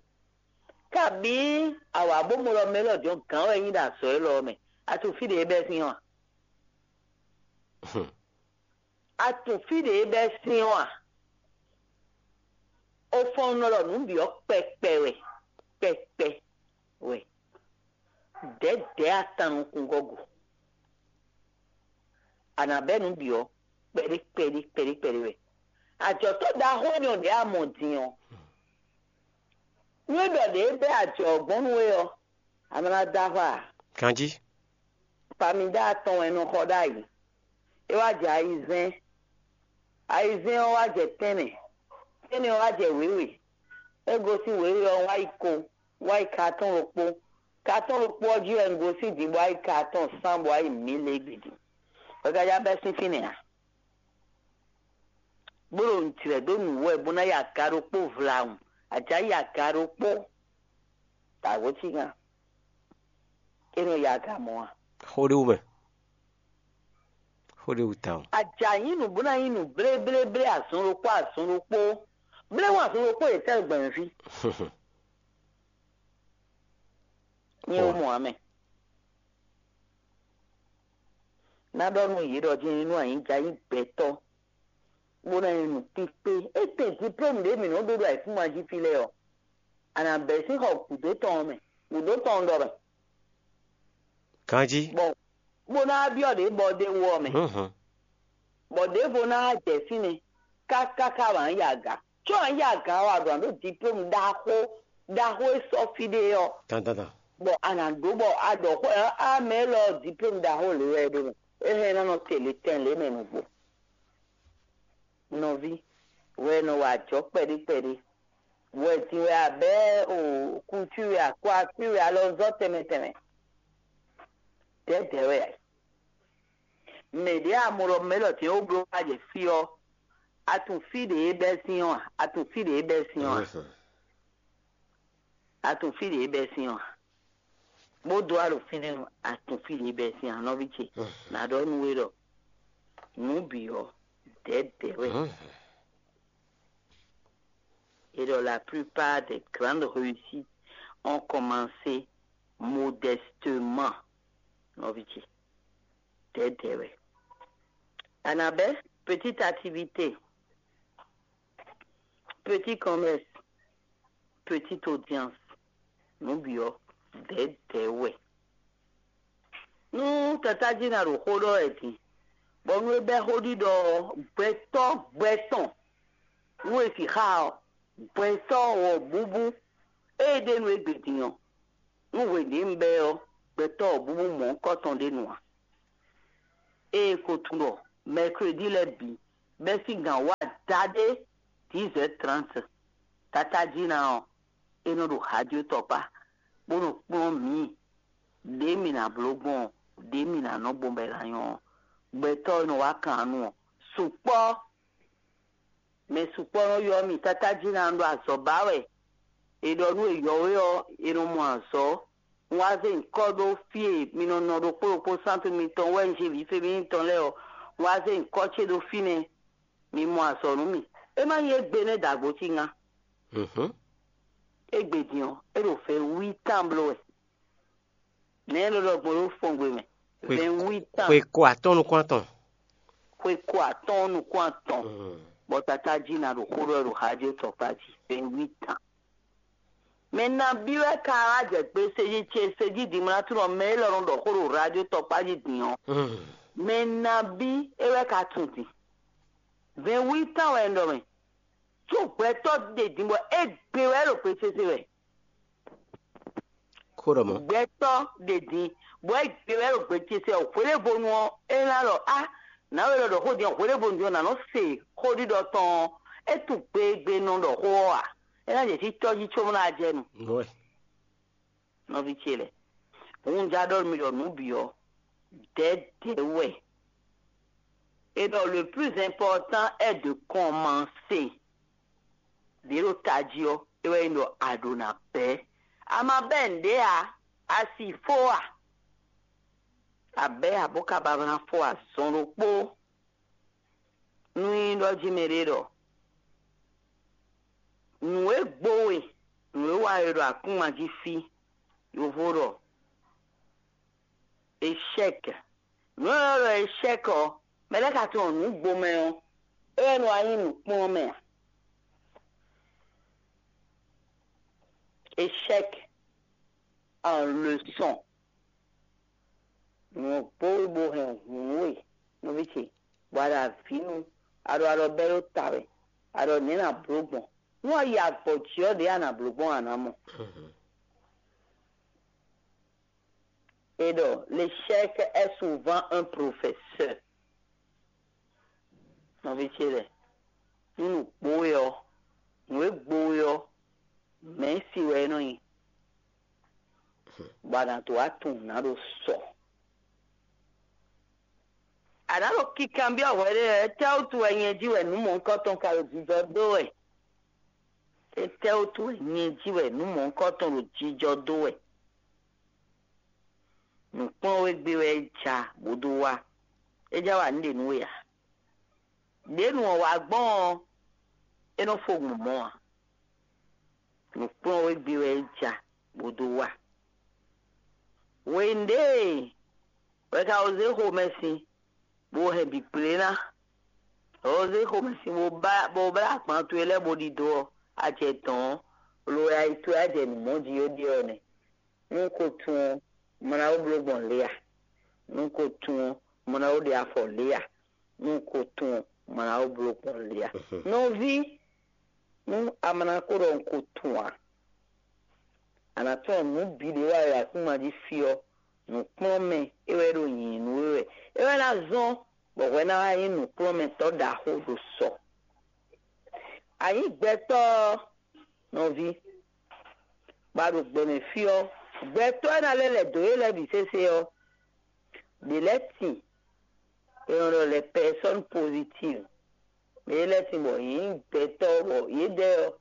Kabǐ a wǎ bó mɔ ɖɔ mɛ élɔ́ din ɔ́ gǎn wɛ é nyí ɖo azɔ̌ élɔ́ ɔ́ mɛ, a tunwun fí ɖě é bɛ́ sín ɔ́ a? A tunwun fí ɖě é bɛ́ sín ɔ́ a? Ofɔnnɔ ɖɔ nǔ bǐ ɔ́ kpɛkpɛ wɛ, kpɛkpɛ wɛ. Dɛ̌dɛ̌ atan nukúngɔ́ go. A nǎ bɛ́ nǔ bǐ ɔ́ kpɛɖé kpɛɖé kpɛɖé kpɛɖé wɛ. Ajɔ̌tɔ́ ɖaxó énɛ́ ɔ́ ɖě a mɔ din ɔ́, nú é ɖɔ ɖě é bɛ́ ajɔ ɔ́ gbɔn nú we ɔ́, a nɔ ná dó axwá ǎ. Ganjí. Pamida atɔn wɛ è nɔ xɔ ɖ'ayǐ. É wá jɛ ayizɛ́n. Ayizɛ́n ɔ́ wá jɛ tɛ́nnɛ. Tɛ́nnɛ ɔ́ wá jɛ wěwe. É gosín wěwe ɔ́ wá yi ko, wá yi kaatɔ́n ɖokpó. Kaatɔ́n ɖokpó ɔ́ jí wɛ un gosín din bó wá yi kaatɔ́n sán bó wá yi mǐ lě gbe din. Hwɛgajá bɛ́ sín fínɛ́ ǎ. Bó ɖo nǔjlɛ́ dó nǔ wɛ bó ná yi aga ɖokpó vlawun. Ajǎ yi aga ɖokpó. Dǎgbó cí gán. É nɔ yi aga mɔ̌ a? Xó ɖé wú mɛ. Xó ɖé wú tawun. Ajǎ nyí nǔ bó ná nyí nǔ bléblé azɔn ɖokpó azɔn ɖokpó. Bléwún azɔn ɖokpó yě tɛ́ gbɛ̌n fí. Nyɛ ó mɔ ǎ mɛ. Ná ɖɔ nú yě ɖɔ jɛ́n nú anyǐjá nyí gbɛtɔ́, bó ná nyí nǔkpíkpé. Étɛ́ diplôme ɖě mǐ nɔ́ ɖó ɖo ayǐkúngban jí fí lɛ́ɛ ɔ́, a nǎ bɛ́ sín xɔ gǔdo tɔn ɔ́ mɛ, gǔdo tɔn ɔ́ ɖɔ mɛ. Ganjí. Bɔ bó ná byɔ́ ɖě bɔ ɖ'é wú ɔ́ mɛ. Bɔ ɖěvo ná jɛ fínɛ́ káká ká wǎ yi aga. Có wǎ yi aga ɔ́, a ɖǒ ná ɖó diplôme ɖaxó ɖaxó e sɔ́ fí ɖé ɔ́. Dandandan. Bɔ a nǎ ɖó bɔ a ɖɔ xó ɔ́, a mɛ élɔ́ diplôme ɖaxó lě wɛ é ɖó mɛ. É hɛn ná nɔ te lě tɛn lě mɛ nǔgbó. Nɔví, wɛ nɔ wa ajɔ̌ kpɛɖé kpɛɖé. Wɛ din wɛ a bɛ́ o kuntwí wɛ a kwakpí wɛ alɔzɔ́ tɛnmɛ tɛnmɛ. Dɛ̌dɛ̌ wɛ a yi. Mɛ ɖě a mɔ ɖɔ mɛ élɔ́ din é wú bló wá jɛ fí ɔ́, a tunwun fí ɖě é bɛ́ sín ɔ́ a? A tunwun fí ɖě é bɛ́ sín ɔ́ a? A tunwun fí ɖě é bɛ́ sín ɔ́ a? Bó dó wá ɖo fínɛ́ ɔ́, a tunwun fí ɖě é bɛ́ sín a, nɔví ce? Nǎ ɖɔ nú we ɖɔ nǔ bǐ ɔ́, dɛ̌dɛ̌ wɛ. Et dans la plupart des grandes réussites ont commencé modestement, nɔví ce. Dɛ̌dɛ̌ wɛ. Annabelle, petite activité, petit commerce, petite audience, nǔ bǐ ɔ́, dɛ̌dɛ̌ wɛ. Nú tatájí ná ɖo xó ɖɔ wɛ din, bɔ nú é bɛ́ xó ɖiɖɔ ɔ́, gbɛtɔ́ gbɛ tɔn, nú è sixá ɔ́, gbɛtɔ́ wɔ̌búbú, ée ɖe nú égbé din ɔ́, nú hwěɖěnu bɛ́ ɔ́, gbɛtɔ́ wɔ̌búbú mɔ̌hunkɔtɔn ɖé nu ǎ. Ée ko tunwun ɖɔ mɛkredi lɛ́ɛ bǐ bɛ́ sín gǎn wá daɖé dix heures trente, tatájí ná ɔ́, é nɔ ɖo hajó tɔkpá, bó nɔ kplɔ́n mǐ. Ɖě mǐ ná bló gbɔn ɔ́, ɖě mǐ ná nɔ gbɔn bɔ è nǎ nyɔ́ ɔ́, gbɛtɔ́ e nɔ wá kan nu ɔ́, sukpɔ́. Mɛ sukpɔ́ nɔ ylɔ́ mì, tatájí ná ɖo azɔ̌ ba wɛ. È ɖɔ nú è yɔ̌wé ɔ́, è nɔ mɔ azɔ̌. Un wá zé nyǐkɔ ɖó fí e mi nɔ nɔ ɖokpó ɖokpó sántu mitɔn wɛ un jí vǐ Femíni tɔn lɛ́ɛ ɔ́, un wá zé nyǐkɔ ce ɖó fínɛ́. Mi mɔ azɔ̌ nú mì. É má nyí égbé nɛ́ dǎgbó cí ŋá. Égbé din ɔ́, é ɖo vɛ̌ wí tán bló wɛ. Nɛ̌ é nɔ ɖɔ gbɔn ɖó fɔngbe mɛ? Vɛ̌ wí tán. Xwe ko atɔ́ɔ́n nukún atɔn. Xwe ko atɔ́ɔ́n nukún atɔn. Bɔ tatájí ná ɖo xó ɖɔ ɖo xají tɔkpá jí. Vɛ̌ wí tán. Mɛ nabí wɛ ka wá jɛ gbe sejí ce sejí dimlátúnɔ mɛ élɔ́ nɔ ɖɔ xó ɖo radio tɔkpá jí din ɔ́? Mɛ nabí é wɛ ka tunwun din? Vɛ̌ wí tán wɛ un ɖɔ mɛ. Có gbɛtɔ́ ɖe din bɔ é gbe wɛ ɖo gbe sese wɛ. Kó ɖɔ mɔ̌. Gbɛtɔ́ ɖe din, bɔ é gbe wɛ ɖo gbe ce se ɔ́, hwelébonu ɔ́, é ná ɖɔ á, nǎwe lɔ ɖɔ xó din ɔ́, hwelébonu din ɔ́, nǎ nɔ se xóɖiɖɔ tɔn ɔ́, é tunwun gbe e gbe nɔ ɖɔ xó ɔ́ ǎ. É ná jɛ títɔ́ jí có bó ná jɛ nu. Nɔví ce lɛ́ɛ, hunja ɖɔ mi ɖɔ nǔ bǐ ɔ́, dɛ̌dɛ̌ wɛ. Et donc, le plus important est de commencer. Ɖě ɖo tají ɔ́, é wɛ nyí ɖɔ a ɖǒ ná bɛ́. A ma bɛ́ nǔɖé ǎ, a si fó a? A bɛ́ ǎ bó ka ba ná fó azɔn ɖokpó. Nú nyí ɖɔ jí mɛɖé ɖɔ nǔ e gbo we, nǔ e wa we ɖo akúnma jí fí, yovo ɖɔ échec. Nǔ e ɖɔ échec ɔ́, mɛ lɛ́ɛ ka tunwun nǔ gbo mɛ ɔ́, é wɛ nɔ wá nyí nǔkplɔ́nmɛ ǎ. Échec en leçon. Nǔ ɔ́ gbo we bó hɛn hǔn we, nɔví ce, bɔ a ɖo avǐ nu, a ɖo alɔ bɛ́ ɖó ta wɛ, a ɖɔ nɛ̌ nǎ bló gbɔn? Nú a yi agbɔ̌ jí ɔ́, ɖěe a nǎ bló gbɔn a nǎ mɔ. Et donc, l'échec est souvent un professeur. Nɔví ce lɛ́ɛ, nú nǔ gbo we ɔ́, nǔ e gbo we ɔ́, mɛ̌si wɛ é nɔ nyí, bɔ a nǎ dó wá tunwun nǔ ná ɖo sɔ. A nǎ ɖo kikanbyɔ́ hwɛɖée wɛ, étɛ́wútu wɛ nyɛ jí wɛ nǔ mɔ̌hunkɔtɔn ka ɖo jijɔ dó wɛ? Étɛ́wútu wɛ nyɛ jí wɛ nǔ mɔ̌hunkɔtɔn ɖo jijɔ dó wɛ? Nǔkplɔ́nwégbé wɛ é ja bó dó wá. É já wa nǔ ɖě nú we ǎ. Ɖě nǔ ɔ́ wá gbɔn ɔ́, é nɔ fó gbɔn mɔ̌ ǎ. Nǔkplɔ́nwégbé wɛ é ja bó dó wá. Hwenu ɖě wɛ ka wǒ zé xomɛ sin, bó hɛn bǐ kplé ná. Wǒ zé xomɛ sin bó blá bó blá agban towe lɛ́ɛ bó ɖidó ɔ́, a jɛ dɔ̌n ɔ́, lo wɛ ayi towe á jɛ nǔ mɔ jí ó ɖe ɔ́ nɛ́. Nú ko tunwun ɔ́, mɔ ná ó bló gbɔn lě ǎ. Nú ko tunwun ɔ́, mɔ ná ó ɖe afɔ lě ǎ. Nú ko tunwun ɔ́, mɔ ná ó bló gbɔn lě ǎ. Nɔví, nú a ma ná ko ɖɔ un ko tunwun ǎ, a nǎ tunwun nǔ bǐ ɖě wa wɛ akúma jí fí ɔ́, nǔkplɔ́nmɛ é wɛ ɖo nyǐnyí nú we wɛ. É wɛ ná zɔ́n bɔ hwɛ ná wá nyí nǔkplɔ́nmɛtɔ́ ɖaxó ɖo sɔ. A nyǐ gbɛtɔ́ ɔ́, nɔví, bɔ a ɖo gbɛmɛ fí ɔ́, gbɛtɔ́ e ná lɛ́ lɛ̌ dó yě lɛ́ɛ bǐ sésé ɔ́, ɖě lɛ́ɛ tin è nɔ ɖɔ lɛ personne positive. Mɛ yě lɛ́ɛ tin bɔ yě nyí gbɛtɔ́ bɔ yědɛɛ ɔ́,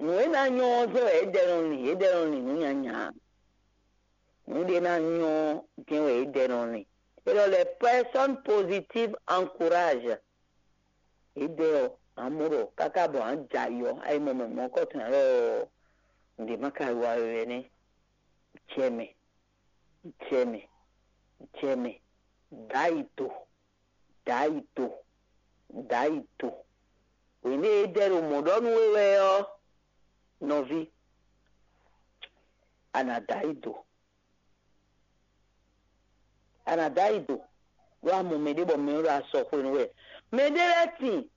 nǔ e ná nyɔ́ ɔ́ jɛ́n wɛ yědɛɛ nɔ lin, yědɛɛ nɔ lin nǔ nyanya. Nǔ ɖé ná nyɔ́ ɔ́ jɛ́n wɛ yědɛɛ nɔ lin. È ɖɔ lɛ personne positive encourage. Yědɛɛ ɔ́, a mɔ ɖɔ káká bɔ a jɛ ayɔ, a yi mɔ mɛ mɔ̌kɔtɔn ǎ lɔ, nǔɖé má ka wa we wɛ nɛ́. Jɛ mɛ, jɛ mɛ, jɛ mɛ, dǎ yi do, dǎ yi do, dǎ yi do. Hwenu e é dɛ ɖo mɔ̌ ɖɔ nú we wɛ ɔ́, nɔví, a nǎ dǎ yi do. A nǎ dǎ yi do, ɖó a mɔ mɛɖé bɔ mɛ ɔ́ ɖo asɔ xwenu wɛ. Mɛɖé lɛ́ɛ tin,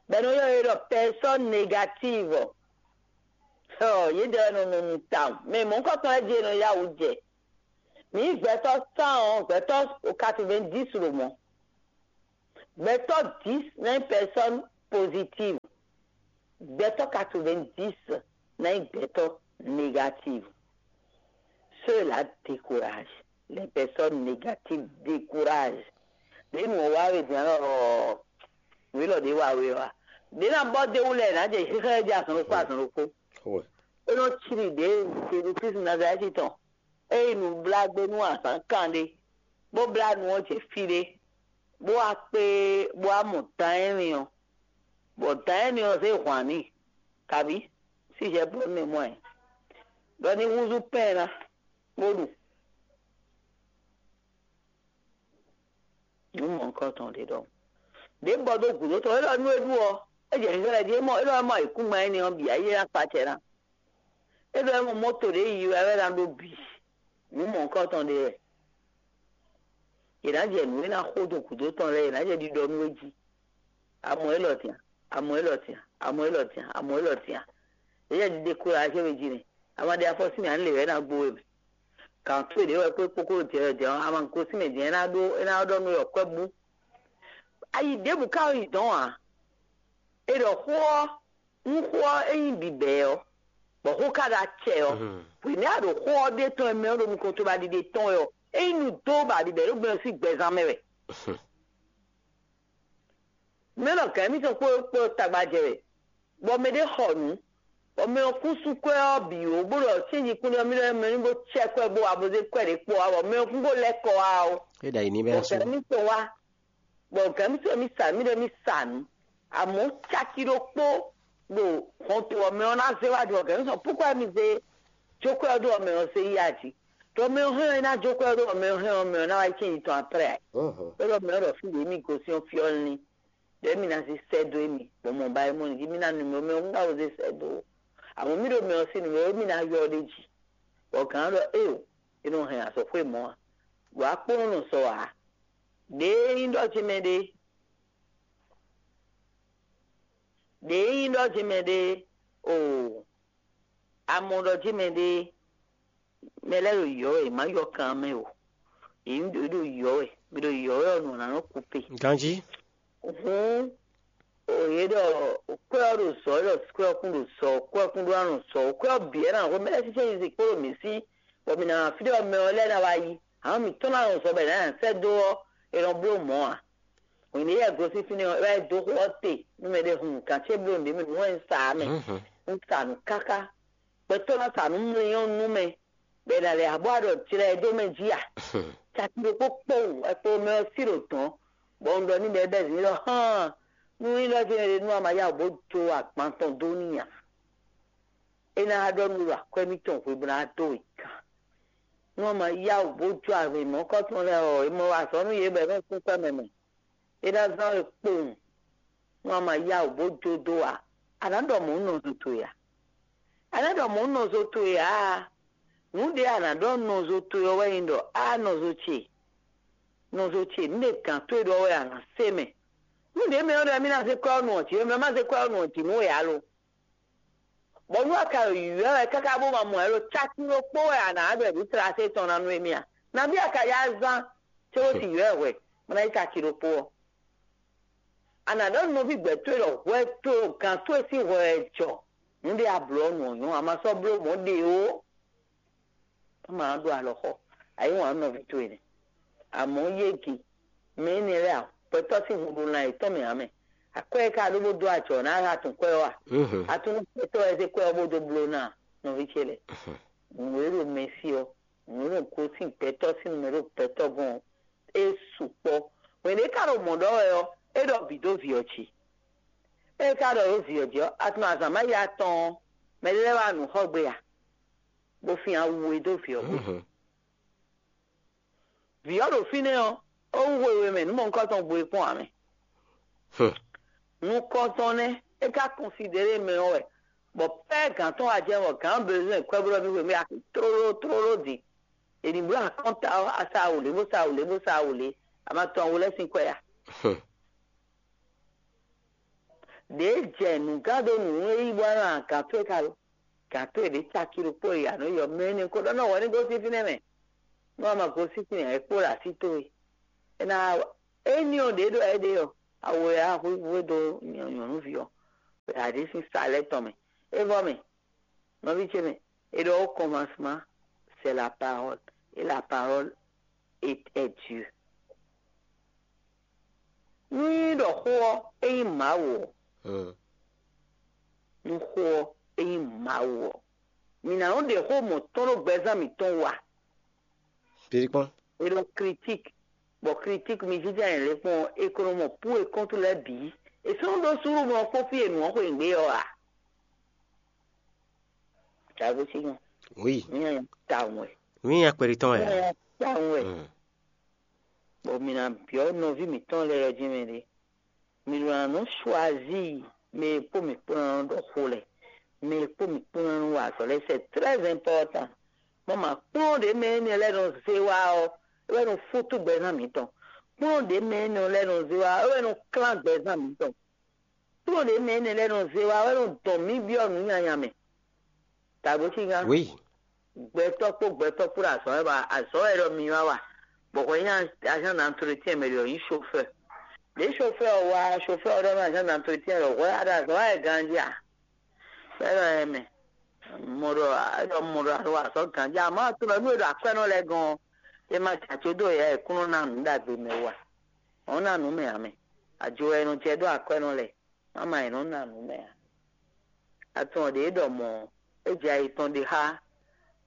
bɔ è nɔ ylɔ́ yě ɖɔ personne négative. Ɔ, yědɛɛ wɛ nɔ nɔ nu tawun. Mɛ mɔ̌hunkɔtɔn lɛ́ɛ jí è nɔ yá wǔ jɛ. Mǐ nyí gbɛtɔ́ cent ɔ́, gbɛtɔ́ quatre-vingt-dix ɖo mɔ̌. Gbɛtɔ́ dix ná nyí personne positive. Gbɛtɔ́ quatre-vingt-dix ná nyí gbɛtɔ́ négative. Ceux-là découragent. Les personnes négatives découragent. Ɖě nǔ ɔ́ wá we din ɔ́, nǔ élɔ́ ɖě wa we ɔ́, ɖě ná bɔ dó wú lɛ́ɛ ná jɛ xixlɛ́ jí azɔn ɖokpó azɔn ɖokpó. É nɔ cí ɖi ɖě Jezu Klísu Nazalɛ́ti tɔn. É nyí nǔblágbénú azǎn kanɖé, bó blá nu ɔ́ jɛ fí ɖé, bó wá kpé, bó wá mɔ dan énɛ́ ɔ́, bɔ dan énɛ́ ɔ́ zé hwan n'i, kabǐ sísɛ bɔ nú mɛ mɔ ɛ, ɖɔ ní húzú pɛ́n ná, bó ɖu. Nǔ mɔ̌hunkɔtɔn ɖé ɖɔhun. Ɖě bɔ dó gǔdo tɔn, é ɖɔ nú é ɖu ɔ́, é jɛ xixlɛ́ jí, é mɔ é ɖɔ é mɔ ayǐkúngban énɛ́ ɔ́ bǐ ayé ná kpacɛ ná. É ɖɔ é mɔ mɔ́to ɖě yi wɛ é ná ɖó bǐ. Nǔ mɔ̌hunkɔtɔn ɖé wɛ. Yě ná jɛ nǔ e ná xo dó gǔdo tɔn lɛ́ɛ, yě ná jɛ ɖiɖɔ nú é jí. Amɔ élɔ́ tɛn, amɔ élɔ́ tɛn, amɔ élɔ́ tɛn, amɔ élɔ́ tɛn. Yě jɛ ɖiɖe kó axé we jí nɛ. Ama ɖe afɔ sín mì, à ń lè wɛ ná gbó we mɛ. Gǎn towe ɖě wɛ kpó kpókó jɛ jɛ ɔ́, ama gosín mɛ din, é ná ɖó é ná ɖɔ nú yɔ kwɛ́ bú. Ayi ɖěbǔ ka yi dɔn ǎ. È ɖɔ xó ɔ́, nú xó ɔ́ é nyí bǐbɛ́ ɔ́, bɔ xó ka ɖo acɛ ɔ́, hwě nɛ́ a ɖo xó ɔ́ ɖe tɔn e mɛ ɔ́ ɖo nukɔn tobaɖiɖe tɔn wɛ ɔ́, é nyí nǔ dó baɖiɖɛ ɖó gbɛmɛ sín gbɛzán mɛ wɛ. Mɛ nɔ gǎn émítɔn kpó kpó tagba jɛ wɛ, bɔ mɛ ɖé xɔ nǔ, bɔ mɛ ɔ́ kún sú kwɛ́ ɔ́ bǐ ó, bó ɖɔ cɛ́nji kún ɖɔ mì ɖɔ mɛ ní bó cɛ kwɛ́ bó wá bó zé kwɛ́ ɖě kpɔ wá, bɔ mɛ ɔ́ kún bó lɛ́ kɔ wá ó. É ɖo ayǐ ní bɛ́ Bɔ gǎn émítɔn wá, bɔ gǎn émítɔn mì sa mì ɖɔ mì sa nǔ, amɔ̌ caki ɖokpó ɖo hɔnto ɔ́ mɛ ɔ́ ná zé wá ɖu ɔ́, gǎn émítɔn púkwɛ́ mi zé jó kwɛ́ ɔ́ ɖó ɔ́ mɛ ɔ́ zé yi a jí. Ɖɔ mɛ ɔ́ hɛn ɔ́, é ná jó kwɛ́ ɔ́ ɖó ɔ́ mɛ ɔ́ hɛn ɔ́, mɛ ɔ́ ná wá yi cɛ́nji tɔn aprɛ. Ɖɔ mɛ ɔ́ ɖɔ fí ɖě mi gosín ɔ́ fí ɔ́ lín. Ɖɔ émí ná zé sɛ́ dó émí, bɔ mɔ ba é mɔ nǔ jí mí ná nu mɛ ɔ́, mɛ ɔ́ ná wo zé sɛ́ dó ó. Amɔ̌ mí ɖo mɛ ɔ́ sín nǔ mɛ ɔ́, émí ná ylɔ́ ɖ'é jí. Bɔ gǎn ɔ́ ɖɔ éeǒ, é nɔ hɛn azɔ̌xwé mɔ̌ ǎ. Ɖo akpónɔ nɔ sɔ ǎ. Ɖěe nyí ɖɔ ce mɛ ɖé, ɖěe nyí ɖɔ ce mɛ ɖé, oo, a mɔ ɖɔ ce mɛ ɖé, mɛ lɛ́ɛ ɖo yɔ̌ wɛ, yě má yɔ kan mɛ o. Yě ɖo yɔ̌ wɛ, mi ɖo yɔ̌ wɛ ɔ́, nǔ ná nɔ kú pe. Ganjí. Hǔn, o yě ɖɔ kwɛ́ ɔ́ ɖo zɔ, é ɖɔ kwɛ́ ɔ́ kún ɖo zɔ, kwɛ́ ɔ́ kún ɖó ná nɔ zɔ, kwɛ́ ɔ́ bǐ wɛ ná hwemɛ lɛ́ɛ sísɛ́ nyi zǐn kpó ɖo mǐ sí, bɔ mǐ ná wá fí ɖé ɔ́ mɛ ɔ́ lɛ́ɛ ná wá yi. Amɔ̌ mǐtɔn ná nɔ zɔ bɔ è nǎ sɛ́ dó ɔ́, è nɔ bló mɔ̌ ǎ. Hwenu e yɛ gosín fínɛ́ ɔ́, é wá yi dó xó ɔ́ te, nú mɛɖé hun kan ce bló nǔɖé mɛ nǔ wɛ un sa ǎ mɛ. Un sa nǔ káká. Gbɛtɔ́ ná sa nǔ mlɔ́ nú mɛ, bɔ è nǎ lɛ́ abɔ aɖɔ jlɛ ɛ dó mɛ jí a? Caki ɖokpó kpowun wɛ kpo mɛ ɔ́ sí ɖo dɔ̌n, bɔ un ɖɔ n'i bɔ é bɛ́ zǐn ɖɔ hán, nú nyí ɖɔ jɛ́n è ɖe nú a ma yá wǔ bó jó agban tɔn dó n'i a? É ná ɖɔ nú ɖo akwɛ́ mitɔn hwe bó ná dó wě gán. Nú a ma yá wǔ bó jó avǐ mɔ̌kɔ́tɔn lɛ́ɛ ɔ́, è mɔ wa azɔ̌ nú yě bɔ è nɔ kún kwɛ́ mɛ mɛ. É ná zán we kpowun, nú a ma yá wǔ bó jó dó ǎ. A nǎ ɖɔ mɔ̌ nɔzo towe ǎ. A nǎ ɖɔ mɔ̌ nɔzo towe ǎ. Nǔ ɖě a nǎ ɖɔ nɔzo towe ɔ́ wɛ nyí ɖɔ á nɔzo ce, nɔzo ce, nǔ ɖě gǎn towe ɖɔ wɛ a nǎ se mɛ. Nǔ ɖě mɛ ɔ́ ɖɔ mí ná zé kwɛ́ ɔ́ nu ɔ̌ jǐ, mɛ má zé kwɛ́ ɔ́ nu ɔ̌ jǐ nú we ǎ lo. Bɔ nú a ka ɖo yǔywɛ́ wɛ káká bó ma mɔ ɛ lo cákí ɖokpó wɛ a nǎ ɖɔ nǔ sláse tɔn ná nú émí a? Nabí a ka yá zán cóbó ti yǔ wɛ hwɛ, bó ná yi cákí ɖokpó ɔ́? A nǎ ɖɔ nú nɔví gbɛ̌ towe ɖɔ hwɛ towe gǎn towe sín hwɛ wɛ jɔ. Nǔ ɖé a blǒ ɔ́ nu ɔ́ nyɔ́, a ma sɔ́ bló mɔ̌ ɖe ó. Má ma ɖó alɔ xɔ, ayǐ wǎn nɔví towe nɛ́. Amɔ̌ yége, mɛ énɛ́ lɛ́ɛ akwɛ́tɔ́ sín hun ɖo lan yětɔn mɛ ǎ mɛ. Akwɛ́ e ka ɖó bó dó ajɔ ná atún kwɛ́ ɔ́ a? Atún kwɛ́tɔ́ wɛ zé kwɛ́ ɔ́ bó dó bló ná nɔví ce lɛ́ɛ. Nǔ e ɖo mɛ sí ɔ́, nǔ e ɖo gosín gbɛtɔ́ sín nǔ mɛ ɖo gbɛtɔ́ gɔ́n ɔ́, é sukpɔ́. Hwɛ̌n ɖě ka ɖo mɔ̌ ɖɔ wɛ ɔ́, é ɖɔ bǐ dó vǐ ɔ́ jí. É ka ɖɔ ɖó vǐ ɔ́ jí ɔ́, atún azǎn má ya tɔn ɔ́, mɛ ɖé lɛ́ɛ wá nǔ xɔ gbe a? Bó fin awu e dó vǐ ɔ́ gbe. Vǐ ɔ́ ɖo fínɛ́ ɔ́, é wú hwehwe mɛ nǔ mɔ̌hunkɔtɔn gbo e kpɔ́n ǎ mɛ. Nukɔntɔn nɛ́ é ka kɔnsidéré mɛ ɔ́ wɛ, bɔ pɛ́ gǎn tɔn wá jɛ bɔ gǎn bezɔn kwɛ́ blɔ́ mì hwemɛ axi tlóló tlóló din. È nǐ bló akɔ́nta ɔ́, a sa awu lě bó sa awu lě bó sa awu lě, a ma tɔn awu lɛ́ɛ sín kwɛ́ a? Ɖěe jɛ nǔgán dó nǔ e yí bɔ nɔ agǎn towe ka lo. Gǎn towe ɖě caki ɖokpó e a nɔ yɔ mɛ énɛ́ ko ɖɔ nɔ hwɛ ní gosín fínɛ́ mɛ. Nú a ma gosín fínɛ́ ǎ, é kpó ɖo así towe. É ná éní ɔ́ ɖě ɖɔ é ɖe ɔ́, awo e a hwíhwé dó nyɔ̌nuví ɔ́, ɖo aɖǐ sín sa lɛ́ɛ tɔn mɛ. É vɔ mɛ, nɔví ce mɛ, è ɖɔ au commencement, c'est la parole, et la parole est, est Dieu. Nú nyí ɖɔ xó ɔ́, é nyí Mawu ɔ́, nú xó ɔ́, é nyí Mawu ɔ́, mǐ ná nɔ ɖe xó mɔ̌ tɔn ɖó gbɛzán mǐtɔn wú a? Kpéɖé kpɔ́n. È ɖɔ critique, bɔ critique mi jínjɔ́n ayǐ lě kpɔ́n ɔ́, è ko nɔ mɔ pú e kɔ́ntu lɛ́ɛ bǐ. È sɔ́ nɔ ɖó súnnu mɔ kpɔ́n fí e nǔ ɔ́ xwe nǔgbé ɔ́ a? Dǎgbó sí gan. Oui. Mí nyanya tawun wɛ. Mí nya kpɛɖitɔn wɛ. Mí nyanya tawun wɛ. Mm. Bɔ mǐ ná byɔ́ nɔví mǐtɔn lɛ́ɛ ɔ́ jí mɛ ɖé. Mǐ ɖo ná nɔ choisir mɛ e kpó mǐ kpó ná nɔ ɖɔ xó lɛ́ɛ. Mɛ e kpó mǐ kpó ná nɔ wa azɔ̌ lɛ́ɛ, c'est très important. Mɔ ma kplɔ́n ɖě mɛ énɛ́ lɛ́ɛ nɔ zé wá ɔ́, é wɛ nɔ fútú gbɛzán mǐtɔn. Kplɔ́n ɖě mɛ énɛ́ lɛ́ɛ nɔ zé wá ɔ́, é wɛ nɔ klán gbɛzán mǐtɔn. Kplɔ́n ɖě mɛ énɛ́ lɛ́ɛ nɔ zé wá ɔ́, é nɔ dɔn mǐ byɔ́ nǔ nyanya mɛ. Dǎgbó sí gan. Oui. Gbɛtɔ́ kpó gbɛtɔ́ kpó ɖo azɔ̌ wɛ ba azɔ̌ wɛ ɖɔ mi wá wa. Bɔ hwɛ nyí agent d'entretien mɛ ɖɔ nyí chauffeur. Ɖě chauffeur ɔ́ wá, chauffeur ɔ́ ɖɔ nú agent d'entretien ɖɔ hwɛ a ɖo azɔ̌ wá wɛ ganjí a? Bɔ é ɖɔ ɛ mɛ. Mɔ ɖɔ é ɖɔ mɔ ɖɔ a ɖo azɔ̌ ganjí, amɔ̌ a tunɔ nú e ɖo akwɛ́nɔ lɛ́ɛ gɔ́n ɔ́, é ma jɛ acó dó yɛ e kún nɔ ná nǔ ɖagbe mɛ wú a? Ɔ́ ná nǔ mɛ ǎ mɛ. Ajo wɛ è nɔ jɛ dó akwɛ́nɔ lɛ́ɛ, má ma è nɔ ná nǔ mɛ ǎ. Atɔn ɖě ɖɔ mɔ̌, é jɛ ayi tɔn ɖe xá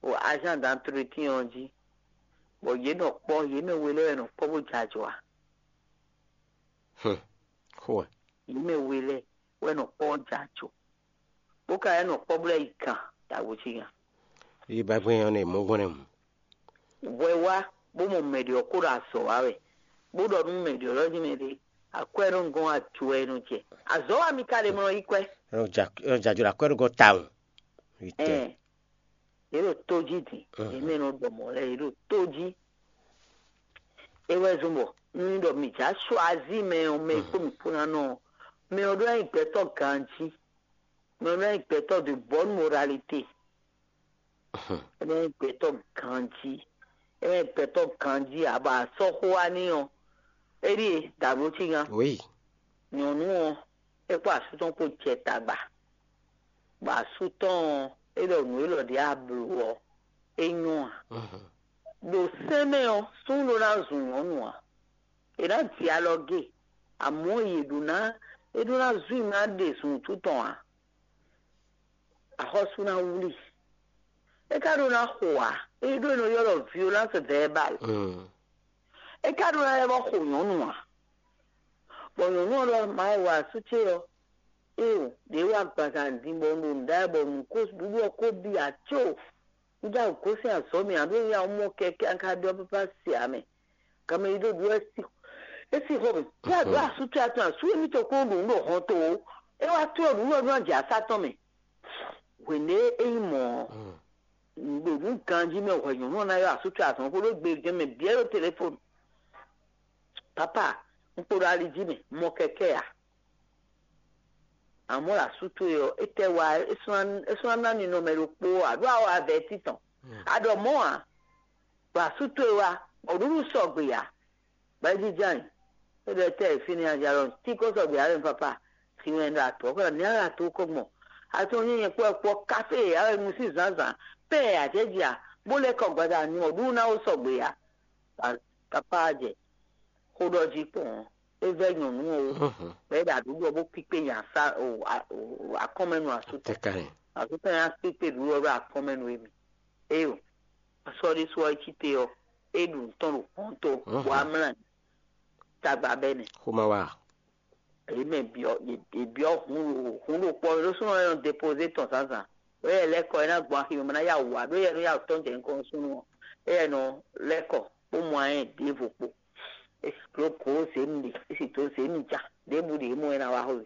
o agent d'entretien ɔ́ jí, bɔ yě nɔ kpɔ́, yě mɛ we lɛ́ɛ wɛ nɔ kpɔ́ bó jɛ ajɔ ǎ. Xó wɛ. Yě mɛ we lɛ́ɛ wɛ nɔ kpɔ́ bó jɛ ajɔ, bó ka wɛ nɔ kpɔ́ bó lɛ́ yi gǎn ɖagbo cí gǎn. Yi ba gbɛn ɔ́ nɛ mɔ̌ gbɔn nɛ mu. Hwɛ wá bó mɔ mɛ ɖě ɔ́ kó ɖo azɔ̌ wa wɛ, bó ɖɔ nú mɛ ɖě ɔ́ ɖɔ jí mɛ ɖě akwɛ́ nɔ gɔ́n ajo wɛ nɔ jɛ. Azɔ̌ wa mi ka ɖe mɔ yi kwɛ́. Ɔ jajɔ ɖo akwɛ́ ɖo gɔ́ tawun. Yi tɛ. Ɛn, yě ɖo tó jí din, yě mɛ nɔ ɖɔ mɔ̌ lɛ́ɛ yě ɖo tó jí. É wɛ zɔ́n bɔ nú ɖɔ mǐ já choisí mɛ ɔ́, mɛ e kpó mǐ kpó ná nɔ ɔ́, mɛ ɔ́ ɖó ná nyí gbɛtɔ́ ganjí, mɛ ɔ́ ɖó ná nyí gbɛtɔ́ de bonne moralité. É ná nyí gbɛtɔ́ ganjí, é ná nyí gbɛtɔ́ ganjí ǎ, bɔ a sɔ́ xó wá n'i ɔ́, é ɖíe dǎbló cí gán. Oui. Nyɔ̌nu ɔ́, é kpó asú tɔn kpó jɛ tagba, bɔ asú tɔn ɔ́, é ɖɔ nǔ élɔ́ ɖě a blǒ ɔ́, é nyɔ́ ǎ. Ɖo sɛ́n mɛ ɔ́, súnnu ɖó ná zun nyɔ̌nu ǎ. È nǎ ji alɔ gé, amɔ̌ yě ɖó ná é ɖó ná zun i ná ɖe zun wútu tɔn ǎ. Axɔ́sú ná wlí. É ka ɖó ná xo ǎ, é ɖó è nɔ ylɔ́ ɖɔ violence verbale. É ka ɖó ná lɛ́ vɔ́ xo nyɔ̌nu ǎ. Bɔ nyɔ̌nu ɔ́ ɖɔ ma wɛ wa asú ce ɔ́, éeǒ, ɖě wá agbaza din bɔ un ɖo nǔ ɖa wɛ bɔ nǔ ko ɖuɖu ɔ́ ko bi ǎ có. Judá gosín azɔ̌ mɛ ǎ, ɖó ya mɔ kɛkɛ́ a ka ɖɔ pápá se ǎ mɛ. Ganmɛ yi ɖó ɖu wɛ si é si xɔ mɛ. Yá ɖó asú ce atɔn asú émítɔn kó ɖo nǔ ɖo hɔn to ó. É wá tlɔ́ nǔ lɔ nú ajǎ sá tɔn mɛ. Hwěndé é nyí mɔ̌ ɔ́, ɖo nǔ ganjí mɛ hwɛ nyɔ̌nu ɔ́ ná ylɔ́ asú ce azɔ̌ xó ɖó gbe gɛ́n mɛ bǐ ɛ ɖo telefonu. Papa, un kpo ɖo ali jí mɛ, mɔ kɛkɛ́ ǎ. Amɔ̌ ɖo asú towe ɔ́, étɛ́ wa é sɔ́ ná ná ninɔmɛ ɖokpó ǎ, ɖó awɔ avɛ̌ titɔn. A ɖɔ mɔ̌ ǎ, ɖo asú towe wá, bɔ nǔɖuɖu sɔgbe ǎ. Bɔ é jínjɔ́n ayǐ, é ɖɔ étɛ́ e fínɛ́ a jɛ alɔ tí kó sɔgbe ǎ lɛ́ papa, si wɛn ɖo atɔ̌ kɔ ní ala tó kɔ gbɔn. Atɔn nyí nyɛ kpɔ́ kpɔ́ kafé e a wɛ mu sín zǎnzǎn, pɛ́ e a jɛ jɛ a, bó lɛ́ kɔ gbada ní mɔ ɖu ná ó sɔgbe ǎ. Papa jɛ xó ɖɔ jí kpɔn ɔ́, é vɛ́ nyɔ̌nu ɔ́ wú, bɔ é ɖo aɖǔɖɔ bó kpíkpé nya sá akɔ́mɛnu asútɔ. Asútɔ nya kpíkpé ɖǔɖɔ ɖo akɔ́mɛnu émi. Éyo, sɔ́ ɖésú ɔ́ é cí te ɔ́, é ɖu nǔ tɔn ɖo hɔn tó, bɔ amlá tagba bɛ́ nɛ. Xó ma wá. Èyí mɛ byɔ́ yě byɔ́ hun ɖo hun ɖo kpɔ ɖó súnɔ ɛ nɔ depozé tɔn zǎnzǎn. Ɖó yɛ lɛ́ kɔ é ná gbɔn axi mɛ ná yá wǔ wá, ɖó yɛ nɔ yá wǔ tɔn jɛ nukɔn nú súnɔ ɔ́. É yɛ nɔ lɛ́ kɔ bó mɔ ayɛ ɖěvo kpo. É sì dó gǒ zě mi ɖe, é sì dó zě mi ja, ɖěbǔ ɖě mɔ é ná wá xo.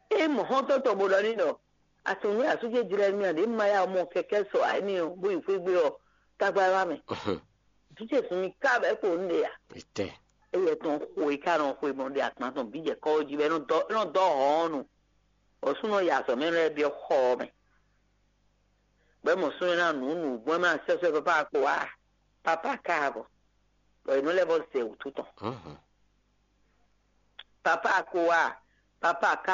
É mɔ xɔ́ntɔn tɔn bó ɖɔ n'i ɖɔ: "Asun nú asújɛ jlɛ́ mì a, ɖě ma yá mɔ kɛkɛ́ sɔ ǎ énɛ́ ɔ́, bó yi xwé gbe ɔ́, tagba wá mɛ." Vǐ ce sun mi ká bɔ é kpo nǔɖé a? Etɛ. Éyɛ tɔn xo e ká nɔ xwe mɔ ɖe akpan tɔn bǐ jɛ kɔ́ jí bɔ é nɔ dɔ é nɔ dɔ hɔn ɔ́ nu. Bɔ súnɔ yi azɔ̌ mɛ lɛ́ɛ byɔ́ xɔ ɔ́ mɛ. Bɔ é mɔ súnɔ ná nǔ nǔ gbɔn é má sɛ́sɛ́ papa kpo wá. Papa ká bɔ bɔ è nɔ lɛ́ vɔ zɛ wǔtu tɔn. Papa kpo wá. Papa ká